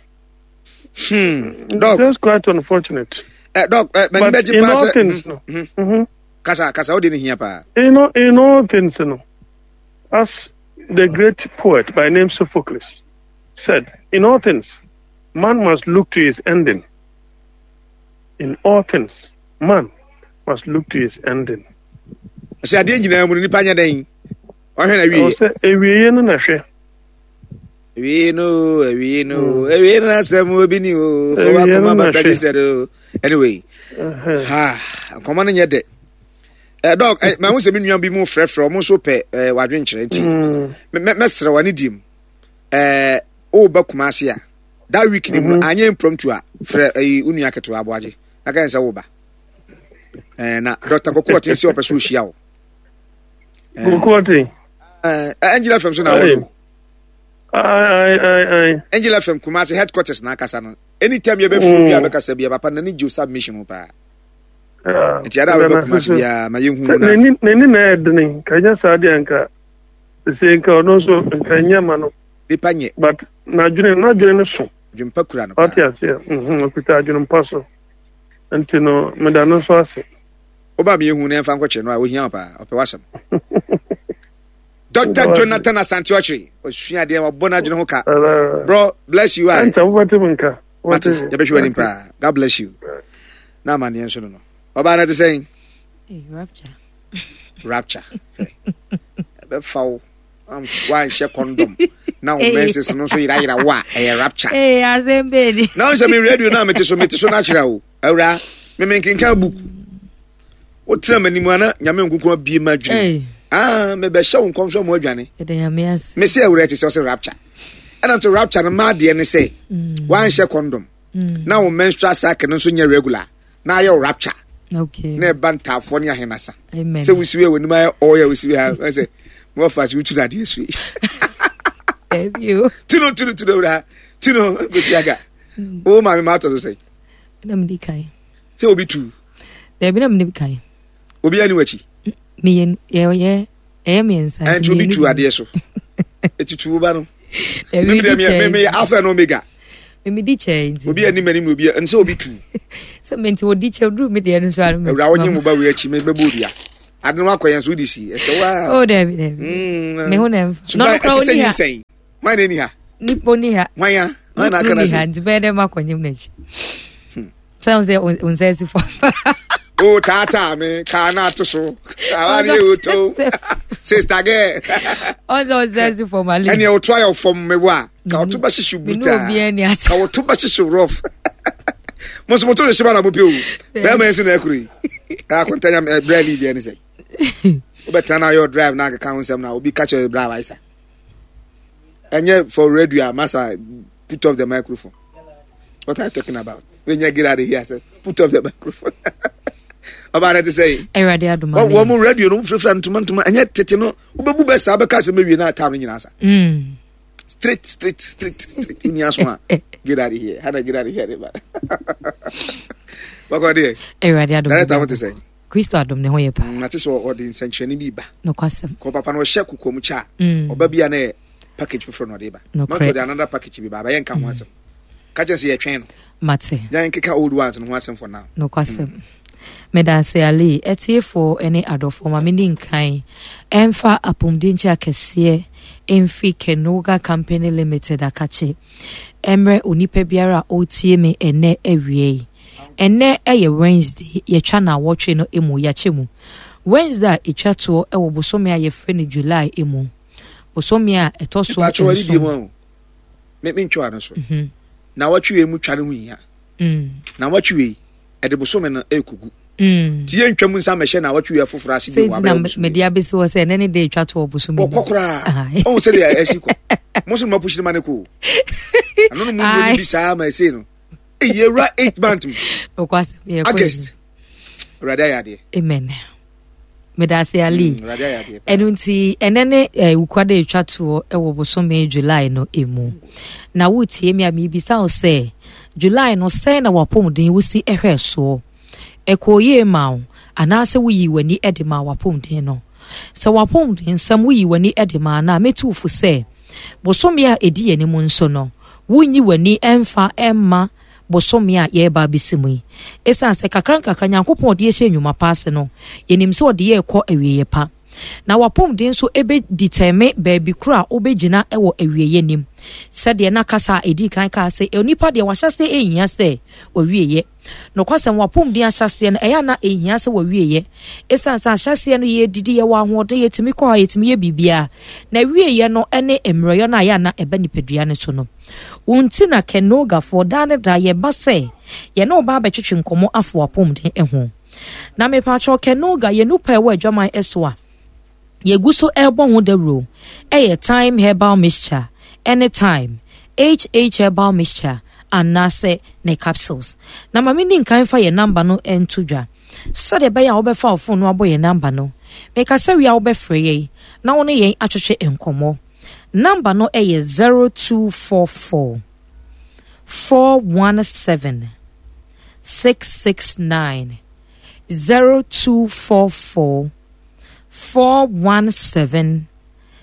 Hmm. Doc, that's quite unfortunate. Uh, Doc, uh, but in all things, no. Mm-hmm. Mm-hmm. Kasa, kasa, what did you hear? In all, in all things, no. As the great poet by name Sophocles said, in all things, man must look to his ending. In all things, man must look to his ending. Say, I didn't know when you panya. Or we no na We know, we know, we know, some will be new. Anyway, ha, come on in your day. Dog, my own seven be more fresh from also pay, wadrench. Messer, one idiom. Eh, oh, Bakumasia. That week, I impromptu, Fre a uniaka to Abuaji. I can't say over. And Doctor Cocotte is your pursuit. Cocotte. Angel F M so now. Aye, aye, aye. Angel F M Kumasi headquarters na akasa no. Anytime you be free bi abekasa bi papa na ni jo submission pa. Nti ada we be Kumasi bi ma ye hu na. Nani nani na edene ka nya sa de anka. Se nka ono so nka nya ma no. Nipa nye. But na dwene na dwene no so. Dwempa kura no. Ati ase. Mhm, okuta dwene mpa so. Nti no me da no so ase. Oba me hu na emfa nkɔkyerɛ no a ohia pa, ɔpɛ wasɛm. Doctor Jonathan Asante Okyere, osua de wabɔ na adwene ho ka. Bro, bless you. Anta wobɛte me nka. Mate, yɛbɛhwɛ w'anim paa. God bless you. Na ama neɛ nso no no. Ɔbaa no te sɛn? Rapture. Rapture. Ɛbɛfa wo. Wanhyɛ condom. Na wo menses no nso yerayera wo a, ɛyɛ rapture. Eh, asɛm bɛni. Na wo sɛ me radio na mete so, mete so na akyerɛ wo. Awura, me menkenka book. Wotra m'anim ana nyame nkunkun abie ma adwene. Ah, me be show nkom so mo adwane. Me say awura te say rapture. And I'm to rapture no ma de ne say wan hye condom. Na wo menstrual cycle no so nya regular. Na aye rapture. Okay. Na e ba ntafo ne ahenasa. Amen. Say wusiwe woni ma oya wusiwe ha say mo fa si wutu na de sui. You. Tino tino tino awura. Tino go si aga. O ma me ma to so say. Na me di kai. Say obi tu. Da bi na me di kai. Obi ani wachi. Me ye ye eh me nsa. And to be two ade so. Etutu ba no. Me me me me alpha and omega. Medi kyɛ nti. Obi anim anim na obi nsɛ obi tu. Sɛ me nti odi kyɛ duru me deɛ no so ara. Awura wonye mo ba wei akyi me bɛbɔ odua. Ade no akɔ yɛn so wode si. Ɛsɛ wa. Oh dabi dabi. Mm. Me ho na mfa. No no kura oni ha. Hwan na ni ha? Nipa ni ha. Hwan ya? Hwan na aka na se? Nti bɛyɛ dɛ makɔ nyem n'akyi. Hmm. Sɛ sɛ wo nsa asi fam. O taataa me kaa na ato so. Awari oto. Sister girl. Ɔsɛ wo nsa asi fam ale. Ɛnea woto ayɛ fam me wa. Ka woto bɛhyehye brutaa. Ka woto bɛhyehye rough. Mo nso mo to hyehyɛ ba na mo pɛ o. Bɛrima yi nso na ɛkuro yi. Akontanya brɛ lead ɛne sɛ. Wobɛtena na ayɛ drive na akeka ho nsɛm na obi ka kyerɛ brɛ a waisa. Ɛnyɛ for radio a masa put off the microphone. What are you talking about? When you get out of here, say, put off the microphone. Ọba na ti sɛ yi. Awurade adum ale. Wɔn mu radio no firafira ntoma ntoma ɛnyɛ tete no wobɛbu bɛ saa bɛka sɛ mɛwie na atam no nyinaa sa. Mm. Straight straight straight straight woni aso a get out of here hana get out of here de ba. Bɔkɔ deɛ. Awurade adum. Director ho te sɛ. Kristo adom ne ho yɛ paa. Mate sɛ ɔde nsɛnkyerɛnne bi ba. Nokwasɛm. Kɔ papa no ɔhyɛ kokoam kyɛ a. Mm. Ɔba bi a na yɛ package foforɔ na ɔde ba. Mate ɔde another package bi ba abayɛ nka ho mm. asɛm. Ka kyerɛ sɛ yɛtwɛn no. Mate. Yɛn nkeka old ones no ho asɛm for now. Nokwasɛm. Mm. Medase Ali, atiefoɔ ne adɔfoɔ ma menni nkan ɛmfa apɔmuden nkyɛ akɛseɛ mfiri Kenoga Company Limited akakye ɛmmerɛ onipa biara a ɔretie me ɛnɛ awia yi. Ɛnnɛ yɛ Wednesday, yɛtwa naawɔtwe no mu, yɛakyɛ mu. Wednesday a ɛtwa toɔ wɔ bosome a yɛfrɛ no July mu. Bosome a ɛtɔ so nson. Me mentwa ano so. Mhm. Naawɔtwe wei mu twa no ho hia. Mm. Naawɔtwe wei ɛde bosome no ɛrekɔgu. Mm. Ti yɛntwa mu nsa mɛhyɛ naawɔtwe wei foforɔ ase bi wɔ abɛyɛ bosome. Mede abɛsi hɔ sɛ ɛnɛ ne de ɛtwa toɔ bosome. Wɔkɔ koraa. Ɔhu sɛdeɛ ɛsi kɔ. Mo nso no mapushi no ma no kɔ o. Ano no mu nnuro bi saa ma ɛsei no. Yɛwura eight month mu. August. Awurade ayɛ adeɛ. Amen. Medase Ali. Mm, Awurade ayɛ adeɛ. Ɛno nti ɛnɛ ne eh, wukwada etwa toɔ wɔ bosome July no emu. Na wotie me a mebisa wo sɛ July no sɛn na wapɔmuden wosi ɛhwɛ soɔ? Ɛkɔɔ yie ma wo anaasɛ woyii w'ani de maa wapɔmuden no? Sɛ wapɔmuden nsɛm woyii w'ani de maa no a mɛtu wo fo sɛ bosome a ɛdi yɛn anim nso no wonnyi w'ani mfa mma bosome a yɛreba abɛsi mu yi. Ɛsiane sɛ kakra nkakra Nyankopɔn ɔde yɛhyɛ nnwuma pa ase no, yɛnim sɛ ɔde yɛ rekɔ awieeɛ pa. Na w'apɔmuden nso ɛbɛditɛme baabi koro a wobɛgyina wɔ awieeɛ nim. Sɛdeɛ na kasa a ɛdii kan kaa sɛ, onipa deɛ wahyɛseɛ ɛnhia sɛ wawieeɛ. Nokwasɛm, w'apɔmuden ahyɛaseɛ no, ɛyɛ a na ɛnhia sɛ w'awieeɛ. Ɛsiane sɛ ahyɛaseɛ no yɛdidi, yɛwɔ ahoɔden, yɛtumi kɔ ha, yɛtumi yɛ biribiara. Na awieeɛ no ne mmerɛyɔ no a ɛyɛ a na ɛba nipadua no so no. Wo nti na Kenogafoɔ daa ne daa yɛba sɛ yɛne wo ba abɛtwetwe nkɔmmɔ afa w'apɔmuden ho. Na mepaakyɛw Kenoga, yɛn nupa a ɛwɔ adwaman so a yɛgu so rebɔ ho dawuro yɛ Thyme Herbal Mixture ne Thyme H H Herbal Mixture anaasɛ ne capsules. Na ma menni nkan mfa yɛn namba no nto dwa sɛdeɛ ɛbɛyɛ a wobɛfa wo fon no abɔ yɛn namba no. Mekasa wie a wobɛfrɛ yɛn na wo ne yɛn atwetwe nkɔmmɔ. Namba no yɛ zero two four four four one seven six six nine zero two four four four one seven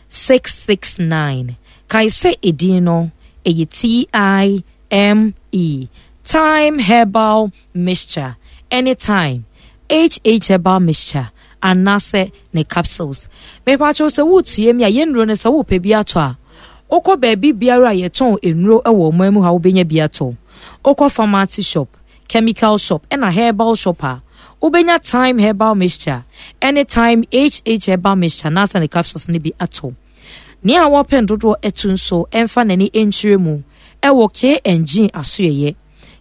six six nine. Kae sɛ edin no ɛyɛ T I M E, Thyme Herbal Mixture, ɛne Thyme H H Herbal Mixture anaasɛ ne capsules. Mepakyɛw sɛ woretie me a, yɛn nnuro no sɛ wopɛ bi atɔ a, wokɔ baabi biara a yɛtɔn nnuro wɔ ɔman mu ha wobɛnya bi atɔ. Wokɔ pharmacy shop, chemical shop ɛna herbal shop a, wobɛnya Thyme Herbal Mixture ɛne Thyme H H Herbal Mixture anaasɛ ne capsules no bi atɔ. Nea wɔpɛn dodoɔ atu nso ɛmfa n'ani nkyerɛ mu ɛwɔ K and G asoɛeɛ.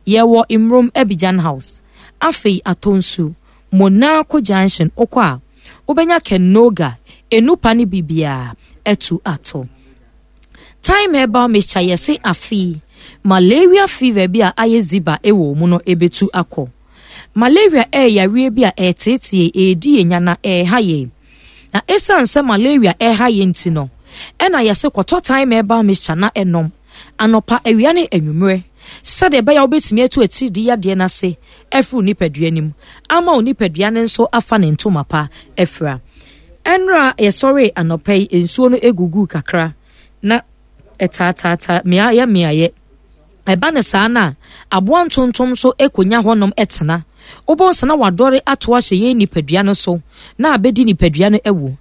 Yɛwɔ Mmrom Abidjan House, afei Atonsu, Monaco Junction wokɔ a wobɛnya Kenoga, Enupa ne biribiara atu atɔ. Thyme Herbal Mixture yɛse afei malaria fever bi a ayɛ ziba wɔ mu no ɛbɛtu akɔ. Malaria ɛyɛ yareɛ bi a ɛreteetee yɛn, ɛredi yɛn nya na ɛreha yɛn. Na ɛsiane sɛ malaria ɛreha yɛn nti no, ɛna yɛse kɔtɔ Thyme Herbal Mixture na ɛnom anɔpa, awia ne anwummerɛ sɛdeɛ ɛbɛyɛ a wobɛtumi atu atiridii yadeɛ no ase afiri wo nipadua no mu ama wo nipadua no nso afa ne ntoma pa afira. Ɛnora yɛsɔree anɔpa yi, nsuo no guguu kakra na ɛtaataata mmeaeɛ mmeaeɛ. Ɛba ne saa no a, aboa ntontom nso kɔnya hɔnom tena. Wobɛhu sɛ na wadɔre ato ahyɛ yɛn nipadua no so na abɛdi nipadua no awu.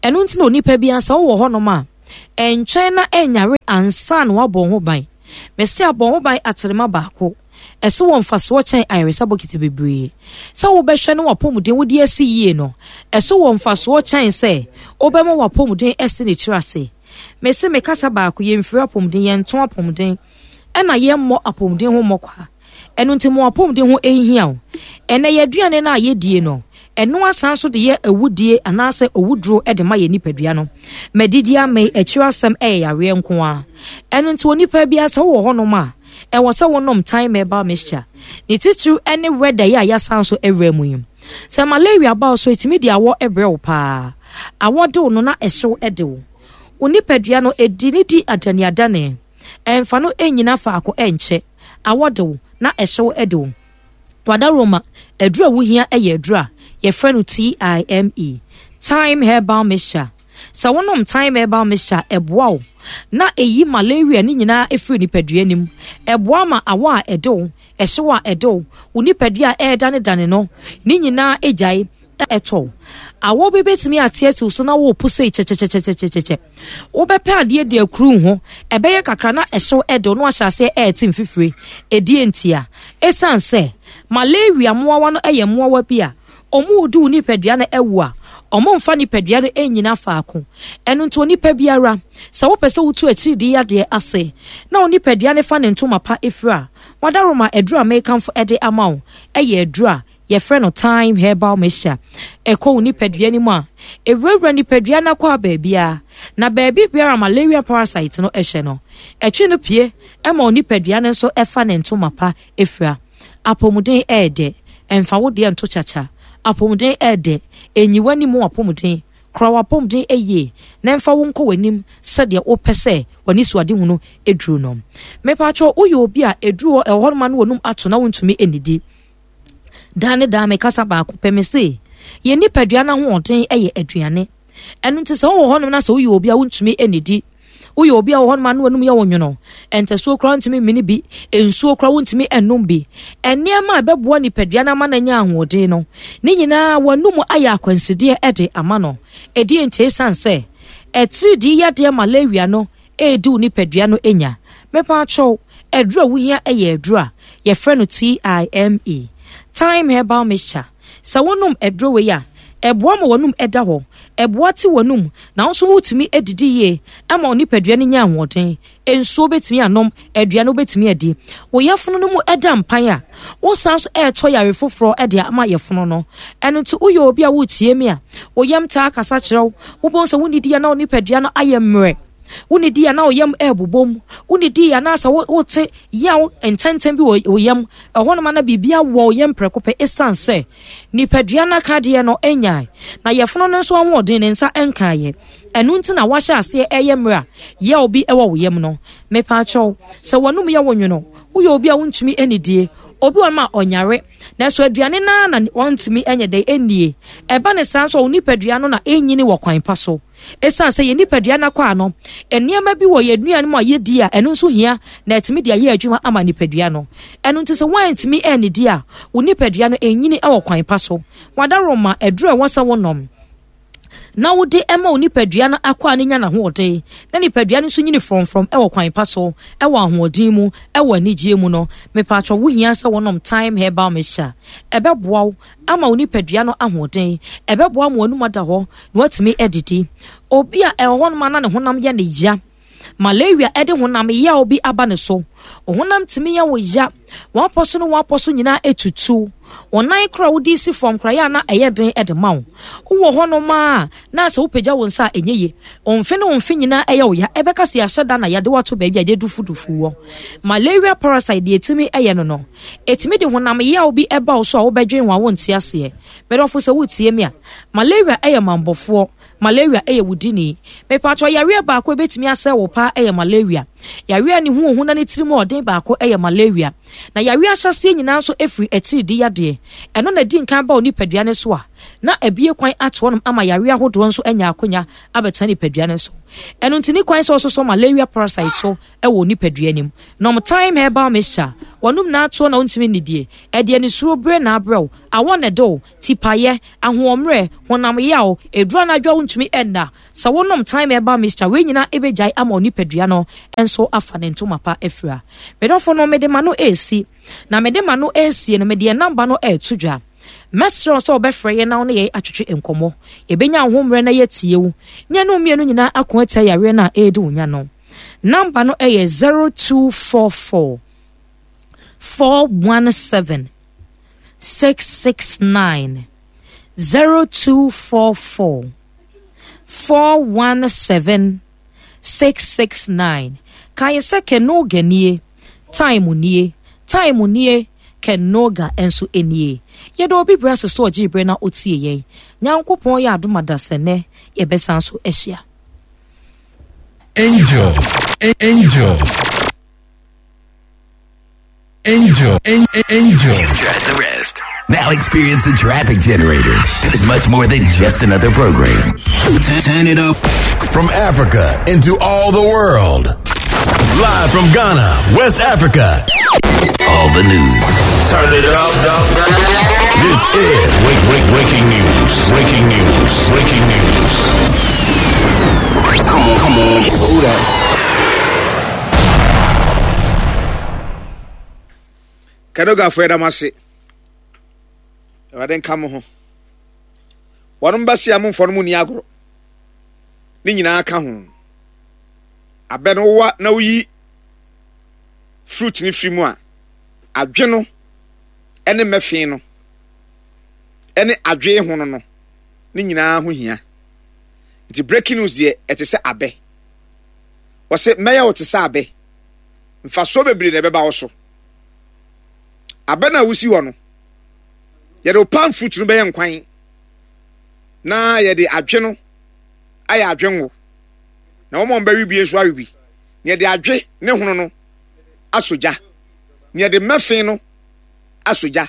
Ɛno nti na onipa biara sɛ wowɔ hɔnom a, ɛntwɛn na ɛnyare ansa na woabɔ wo ho ban. Mese abɔ wo ho ban aterema baako. Ɛso wɔ mfasoɔ kyɛn ayaresa bokiti bebree. Sɛ wobɛhwɛ na w'apɔmuden wode asi yie no, ɛso wɔ mfasoɔ kyɛn sɛ wobɛma w'apɔmuden asi ne tiri ase. Mese me kasa baako, yɛmfiri apɔmuden, yɛnto apɔmuden, ɛna yɛmmɔ apɔmuden ho mmɔkwa. Ɛno nti mo apɔmuden ho nhia wo. Ɛnɛ yɛn aduane no a yɛdie no, ɛno asan so de yɛ awudie anaasɛ owuduro de ma yɛn nipadua no. Madidi amee, akyiri asɛm ɛyɛ yareɛ nko ara. Ɛno nti onipa biara sɛ wowɔ hɔnom a, ɛwɔ sɛ wonom thyme herbal mixture. Ne titiriw ne wɛda yi a yɛasan so awura mu yi. Sɛ malaria ba wo so, ɛtumi de awɔ brɛ wo paa. Awɔ de wo no na ɛhyew de wo. Wo nipadua no, ɛdi ne di adaneadane. Ɛmfa no nnyina faako nkyɛ. Awɔ de wo na ɛhyew de wo. Wadaroma, aduru a wohia yɛ aduru a yɛfrɛ no TIME, Thyme Herbal Mixture. Sɛ wonom Thyme Herbal Mixture a, ɛboa wo na ɛyi malaria no nyinaa firi nipadua no mu. Ɛboa ma awɔ a ɛde wo, ɛhyew a ɛde wo, wo nipadua a ɛredanedane no, ne nyinaa gyae ɛtɔ wo. Awɔ bi bɛtumi ate asi wo so na worepo sei kyɛkyɛkyɛkyɛkyɛkyɛ. Wobɛpɛ adeɛ de akuru ho, ɛbɛyɛ kakra na ɛhyew ɛde wo na wahyɛ aseɛ ɛrete mfifire. Ɛdeɛ ntia? Ɛsiane sɛ malaria mmoawa no yɛ mmoawa bi a wɔredi wo nipadua no awu a, wɔmfa nipadua no nnyina faako. Ɛno nti onipa biara, sɛ wopɛ sɛ wotu atiridii yadeɛ ase na wo nipadua no fa ne ntoma pa firi a, wadaroma aduru a mekamfo de ama wo yɛ aduru a yɛfrɛ no thyme herbal mixture. Ɛkɔ wo nipadua no mu a, ɛwurawura nipadua no akwaa baabiara, na baabi biara malaria parasite no hyɛ no, ɛtwe no pue ma wo nipadua no nso fa ne ntoma pa fira. Apɔmuden ɛyɛ dɛ, ɛmfa wo deɛ nto kyakya. Apɔmuden ɛyɛ dɛ, ɛnyi w'anim w'apɔmuden. Kora w'apɔmuden yie na ɛmfa wo nkɔ w'anim sɛdeɛ wopɛ sɛ w'anisoadehunu duru no. Mepakyɛw, woyɛ obi a ɛduru hɔ ɛwɔ hɔnom a na w'anum ato na wontumi nnidi. Daa ne daa mekasa baako pɛ, mese yɛn nipadua no ahoɔden yɛ aduane. Ɛno nti sɛ wowɔ hɔnom na sɛ woyɛ obi a wontumi nnidi, woyɛ obi a wɔ hɔnom a na w'anum yɛ wo nwono, ntasuo koraa wontumi mmene bi, nsuo koraa wontumi nnom bi, nneɛma a ɛbɛboa nipadua no ama no anya ahoɔden no, ne nyinaa w'anum ayɛ akwansideɛ de ama no. Ɛdeɛ nti? Ɛsiane sɛ atiridii yadeɛ malaria no redi wo nipadua no nya. Mepaakyɛw, aduru a wuhia yɛ aduru a yɛfrɛ no TIME, Thyme Herbal Mixture. Sɛ wonom aduro wei a, ɛboa ma w'anum da hɔ, ɛboa te w'anum, na wo nso wotumi didi yie ma wo nipadua no nya ahoɔden. Nsuo wobɛtumi anom, aduane wobɛtumi adi. Wo yafunu no mu da mpan a, wosan nso ɛretɔ yare foforɔ de ama yafunu no. Ɛno nti woyɛ obi a woretie me a, wo yam taa kasa kyerɛ wo, wobɛhu sɛ wonnidi a na wo nipadua no ayɛ mmerɛ. Wonnidi a na wo yam ɛrebobom. Wonnidi a na sɛ wote yaw ntɛntɛm bi wɔ wo yam. Ɛhɔnom a na biribi awɔ wo yam prɛko pɛ ɛsiane sɛ nipadua no akadeɛ no nyae na yafunu no nso ahoɔden ne nsa nkaeɛ. Ɛno nti na wahyɛ aseɛ ɛyɛ mmerɛ a yaw bi wɔ wo yam no. Mepaakyɛw, sɛ w'anum yɛ wo nwono, woyɛ obi a wontumi nnidie, obi wɔ hɔnom a ɔnyare, nanso aduane no ara na ɔntumi nyɛ dɛn nnie. Ɛba ne saa nso a, wo nipadua no na ɛnyini wɔ kwan pa so. Esiane sɛ yɛn nipadua no akwaa no, nneɛma bi wɔ yɛn nnuane mu a yedi a ɛno nso hia na atumi de ayɛ adwuma ama nipadua no. Ɛno nti sɛ woantumi annidi a, wo nipadua no nnyini wɔ kwan pa so. W'adaworoma, aduru a ɛwɔ sɛ wonom na wode ma wo nipadua no akwaa no nya n'ahoɔden na nipadua no nso nyini frɔmfrɔm wɔ kwan pa so, wɔ ahoɔden mu, wɔ anigyeɛ mu no, mepatwɔ wohia sɛ wonom Thyme Herbal Mixture. Ɛbɛboa wo ama wo nipadua no ahoɔden. Ɛbɛboa ma w'anum ada hɔ na woatumi adidi. Obi a ɛwɔ hɔnom a na ne honam yɛ ne ya, malaria de honam yaw bi aba ne so. Wo honam tumi yɛ wo ya, w'apɔ so ne w'apɔ so nyinaa etutu. Wo nan kora wode si fam kora yɛ a na ɛyɛ den de ma wo. Wowɔ hɔnom a na sɛ wopagya wo nsa a ɛnyɛ ye. Wo mfe ne wo mfe nyinaa ɛyɛ wo ya. Ɛbɛka sɛ yɛahyɛ da na yɛde wo ato baabi a yɛdufudufu wɔ. Malaria parasite deɛ ɛtumi yɛ no no, ɛtumi de honam yaw bi ba wo so a wobɛdwen ho a wonte aseɛ. Me dɔfo sɛ woretie me a, malaria yɛ mammɔfoɔ, malaria yɛ wo dini. Mepakyɛw, yareɛ baako a ɛbɛtumi asɛe wo paa yɛ malaria. Yareɛ a ne ho ohu na ne tirim ɔden baako yɛ malaria. Na yareɛ ahyɛaseɛ nyinaa nso firi atiridii yadeɛ. Ɛno na ɛdi nkan ba wo nipadua no so a, Na abie kwan ato hɔnom ama yareɛ ahodoɔ nso anya akonya abɛtena nipadua no so. Ɛno nti ne kwan sɛ ɔsosɔ malaria parasite so wɔ nipadua no mu. Nom Thyme Herbal Mixture. Wɔnom n'atoɔ na wontumi nnidie. Ɛde anisuro bere na abrɛ wo, awɔ na ɛde wo, tipaeɛ, ahoɔmmerɛ, honam yaw, ɛduru anadwo a wontumi nna. Sɛ wonom Thyme Herbal Mixture, wei nyinaa ɛbɛgyae ama wo nipadua no nso afa ne ntoma pa afira. Me dɔfo no, mede m'ano resi, na mede m'ano resie no, mede yɛn namba no reto dwa. Mɛsrɛ wo sɛ wobɛfrɛ yɛn na wo ne yɛn atwetwe nkɔmmɔ. Yɛbɛnya wo ho mmerɛ na yɛatie wo, ne yɛne wo mmienu nyinaa ako atia yareɛ no a ɛredi wo nya no. Namba no yɛ zero two four four four one seven six six nine zero two four four four one seven six six nine. Kae sɛ Kenoga nie, time nie, time nie, Kenoga nso nie. Yɛda obi brɛ ase sɛ ɔgyee berɛ na ɔtie yɛn. Nyankopɔn yɛ adom adasɛ nnɛ yɛbɛsan so ahyia. Angel, angel, angel, angel. You've tried the rest. Now experience a traffic generator that is much more than just another program. Turn it up. From Africa into all the world. Live from Ghana, West Africa. All the news. Turn it up. This is Break, break, breaking news. Breaking news. Breaking news. Come on, come on. Hold up. Kadogafo yɛda mo ase. Awurade nka mo ho. Wɔnom bɛse a momfa no mu nni agorɔ. Ne nyinaa ka ho. Abɛ no wowa na woyi fruit no firi mu a, adwe no ne mmɛfe no ne adwe ho no no ne nyinaa ho hia. Nti breaking news deɛ ɛte sɛ abɛ. Wɔse mɛyɛ wo te sɛ abɛ. Mfasoɔ bebree na ɛbɛba wo so. Abɛ no a wosi hɔ no, yɛde wo palm fruit no bɛyɛ nkwan na yɛde adwe no ayɛ adwe ngo na wɔn a wɔbɛwe bi nso awe bi. Na yɛde adwe ne hono no asɔ gya. Na yɛde mmɛfe no asɔ gya.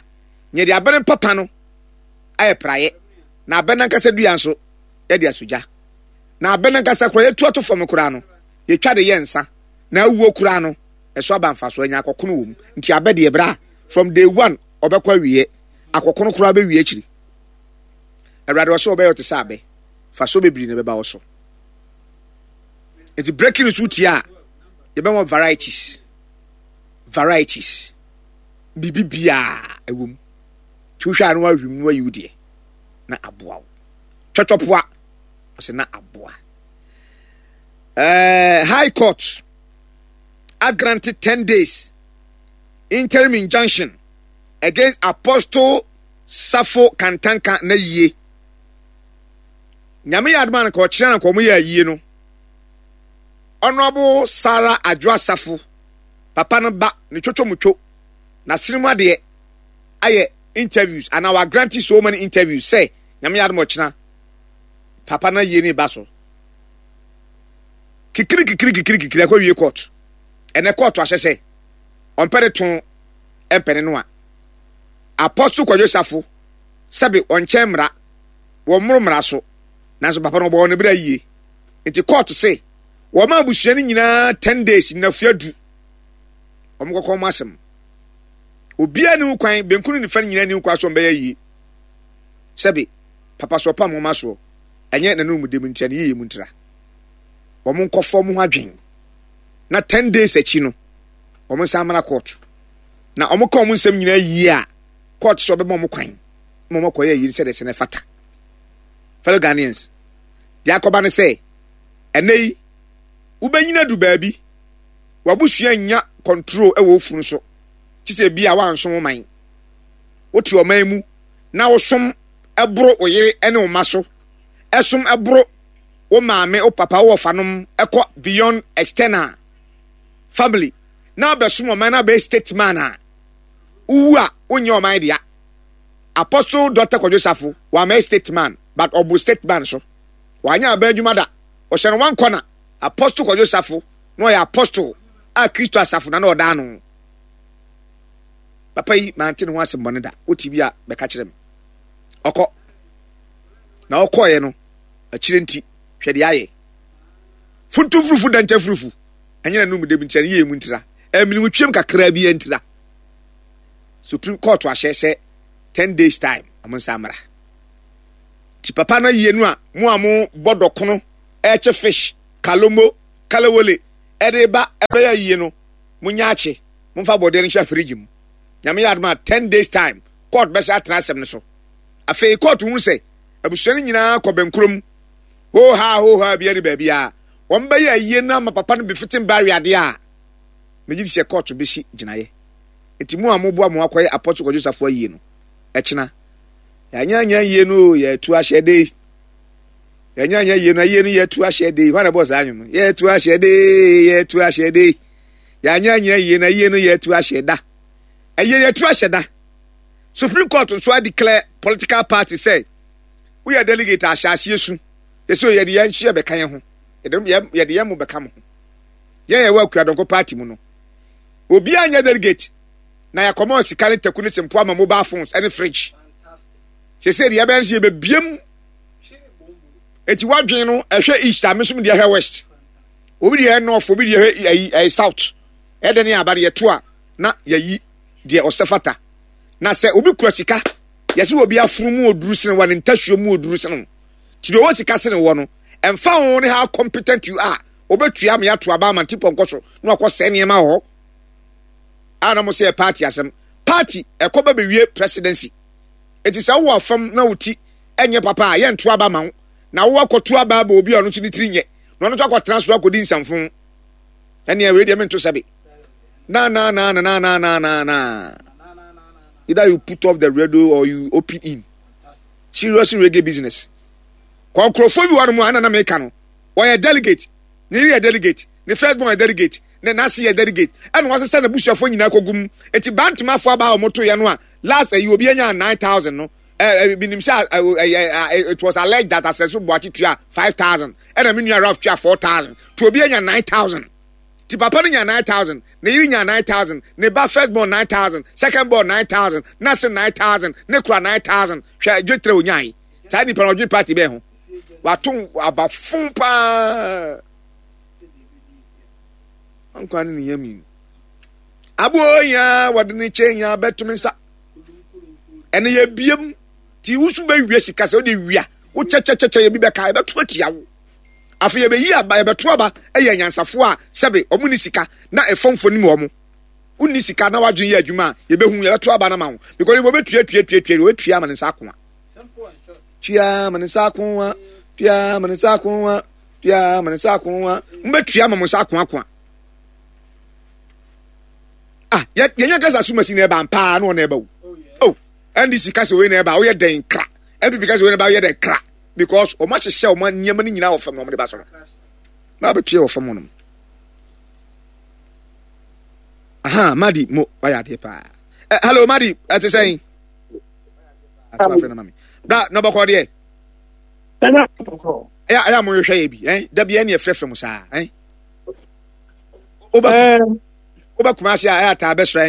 Na yɛde abɛ no papa no ayɛ praeɛ. Na abɛ no ankasa dua nso yɛde asɔ gya. Na abɛ no ankasa koraa yɛtu ato fam koraa no, yɛtwa de yɛ nsa. Na awuo koraa no, ɛso aba mfasoɔ, anya akɔkono wɔ mu. Nti abɛ deɛ bra, from day one ɔbɛkɔ awieɛ. Akɔkono koraa bɛwie akyiri. Awurade ɔsɛ ɔbɛyɛ ɔte sɛ abɛ. Fasoɔ bebree na ɛbɛba wo so. Nti breaking news wotie a, yɛbɛma varieties. Varieties. Biribi biara ɛwɔ mu. Nti wohwɛ a na wahwim na wayi wo deɛ na aboa wo. Twɔtwɔpoa ɔsɛ na aboa. Uh, High Court a granted ten days interim injunction against Apostle Safo Kantanka na yie. Nyame yɛ adoma no ka ɔkyerɛ na nka ɔmo yɛ ayie no. Honorable Sarah Adwoa Safo, papa no ba ne twotwo mutwo na sene mu adeɛ ayɛ interviews anaa wa granted so many interviews sɛ Nyame yɛ adoma ɔkyena papa no ayie ne ba so. Kikiri kikiri kikiri kikiri akɔ wie court. Ɛnɛ court ahyɛ sɛ ɔmpɛ ne to mpɛ ne no a. Apostle Kwadwo Safo sɛbe ɔnkyɛn mmara, wɔmmoro mmara so, nanso papa no ɔbɔɔ ne bra yie. Nti court se wɔma abusua no nyinaa ten days, nnafua du, wɔn kɔkɔ wɔn asɛm. Obiara ni ho kwan, benku ne nifa no nyinaa ni ho kwan so wɔn bɛyɛ yie. Sɛbe papa so ɔpam wɔn asoɔ, ɛnyɛ n'anum dem ntia ne yie mu ntira. Wɔn nkɔfɔ wɔn ho adwen na ten days akyi no wɔn nsa amena court. Na wɔn ka wɔn nsɛm nyinaa yie a, court sɛ ɔbɛma wɔn kwan ma wɔn akɔyɛ yie sɛdeɛ sɛ ne fata. Fellow Ghanaians, deɛ akɔba ne sɛ ɛnɛ yi wobɛnyina du baabi wabusua nya control ɛwɔ ofunu so te sɛ bi a wansom wo man. Wote ɔman mu na wosom ɛboro wo yere ne wo mma so, ɛsom ɛboro wo maame, wo papa, wo wɔfanom, ɛkɔ beyond external family na abɛsom ɔman na abɛyɛ state man a, wowu a wonyɛ ɔman dea. Apostle Doctor Kwadwo Safo wamɛyɛ state man, but ɔboro state man so. Wanyɛ aban adwuma da. Ɔhyɛ no one corner. Apostle Kwadwo Safo na ɔyɛ apostle a Kristo asafo na na ɔda ano. Papa yi mante ne ho asɛm bɔne da. Wote bi a bɛka kyerɛ me. Ɔkɔ. Na ɔkɔɔeɛ no, akyire nti, hwɛ deɛ ayɛ. Funtum furufu da nkyɛ furufu. Ɛnyɛ n'anum dɛm nti, ɛne yɛ mu ntira. Ɛmene twam kakraa bi ntira. Supreme Court ahyɛ sɛ ten days time, ɔmo nsa mmra. Ti papa no yie no a, mo a mo bɔ dɔkono, ɛkye fish, kalomo, kalawole, ɛde ba ɛbɛyɛ yie no, mo nya akye, mo mfa bɔdeɛ no nhyɛ fridge mu. Nyame yɛ adom a, ten days time, court bɛsɛ atena asɛm no so. Afei court hunu sɛ, abusua no nyinaa kɔ bɛnkurom, ho ha ho ha bi ne baabi a, wɔn bɛyɛ ayie no ama papa no befitting barrier adeɛ a, megye di sɛ court bɛsi gyinaeɛ. Nti mo a moboa mo akɔyɛ Apostle Kwadwo Safo ayie no, ɛkyena. Yɛanyɛ yie no, yɛtu ahyɛ de. Yɛanyɛ yie no, ayie no yɛtu ahyɛ de. Hwan na ɛbɔɔ saa nwom no? Yɛtu ahyɛ de, yɛtu ahyɛ de. Yɛanyɛ yie no, ayie no yɛtu ahyɛ da. Ayie yɛtu ahyɛ da. Supreme Court nso a declare political party sɛ woyɛ delegate ahyɛ aseɛ su. Yɛsɛ yɛde yɛn nso yɛbɛka yɛn ho. Yɛde yɛn mo bɛka mo ho. Yɛn yɛwɔ Akuadɔnkɔ party mu no. Obiara nyɛ delegate. Na yɛakɔma sika ne taku ne sempo ama mobile phones ne fridge. Sɛ deɛ ɛbɛyɛ sɛ yɛbɛbiem. Eti wadwen no ɛhwɛ east a mesom deɛ ɛhwɛ west. Obi deɛ ɛhwɛ north, obi deɛ ɛhwɛ ɛyi ɛyɛ south. Ɛdɛ ne aba deɛ to a na yɛyi deɛ ɔsɛ fata. Na sɛ obi kura sika, yɛsɛ obi afunu mu oduru sene wa ne ntasuo mu oduru sene. Ti deɛ ɔwɔ sika sene wɔ no, ɛmfa ho ne how competent you are, obetua me ato aba ama nti pɔnkɔ so na wakɔ sɛ nneɛma wɔ hɔ. A na mo sɛ party asɛm. Party ɛkɔ bɛ bɛwie presidency. Eti sɛ wowɔ afam na wo ti ɛnyɛ papa a yɛnto aba ma wo. Na wo akɔto aba aba obi a ɔno nso ne tiri nyɛ. Na ɔno nso akɔtena so akɔdi nsamfo. Ɛnea wei deɛ mento sɛbe. Na na na na na na na na na. Either you put off the radio or you open in. Serious reggae business. Kɔnkurɔfoɔ bi wɔ no mu a na na meka no. Wɔyɛ delegate. Ne yere yɛ delegate. Ne first born yɛ delegate. Ne n'ase yɛ delegate. Ɛna wɔasesa n'abusuafoɔ nyinaa kɔgu mu. Eti bantomafoɔ aba a wɔto yɛ no a last ɛyi obi anya nine thousand no. Ɛɛ binim sɛ ɛɛ it was alleged that Asɛnso Boakye tua five thousand. Ɛna me nua Ralph tua four thousand. To obi anya nine thousand. Ti papa no nya nine thousand. Ne yere nya nine thousand. Ne ba first born nine thousand. Second born nine thousand. N'ase nine thousand. Ne kura nine thousand. Hwɛ dwetere onyae. Saa nipa na ɔdwene party bɛn ho. Wato abafo paa. Nkwa ne ne yam. Abo ya wɔde ne kyɛn ya bɛtumi nsa. Ɛne yɛ biem. Ti wusu bɛ wie sika sɛ wode wia. Wo kyɛkyɛkyɛkyɛ yɛ bi bɛka ɛbɛto atia wo. Afei yɛbɛyi aba yɛbɛto aba ɛyɛ nyansafoɔ a sɛbe ɔmo ni sika na ɛfɔmfo nim ɔmo. Wonni sika na wadwene yɛ adwuma a yɛbɛhu yɛbɛto aba no ma wo. Because wɔbɛtua tua tua tua wɔbɛtua ama ne nsa akoa. Tua ama ne nsa akoa. Tua ama ne nsa akoa. Tua ama ne nsa akoa. Mbɛtua ama mo nsa akoa akoa. Ah, yɛnyɛ kasa sumasi na ɛba mpaa na ɔna ɛba o. Oh, N D C kasa wei na ɛba woyɛ dɛn kra. N P P kasa wei na ɛba woyɛ dɛn kra. Because ɔmo ahyehyɛ ɔmo nneɛma no nyinaa wɔ fam na ɔmo de ba so no. Na abɛtua wɔ fam hɔ nom. Aha, Madi mo wayɛ adeɛ paa. Eh, hello Madi, ɛte sɛn? Bra na bɔkɔ deɛ. Ɛyɛ ɛyɛ a mo hwehwɛ yɛ bi, eh? Da bi ɛne ɛfrɛfrɛ mo saa, eh? Wobɛ wobɛ Kumasi a ɛyɛ ataa bɛsra.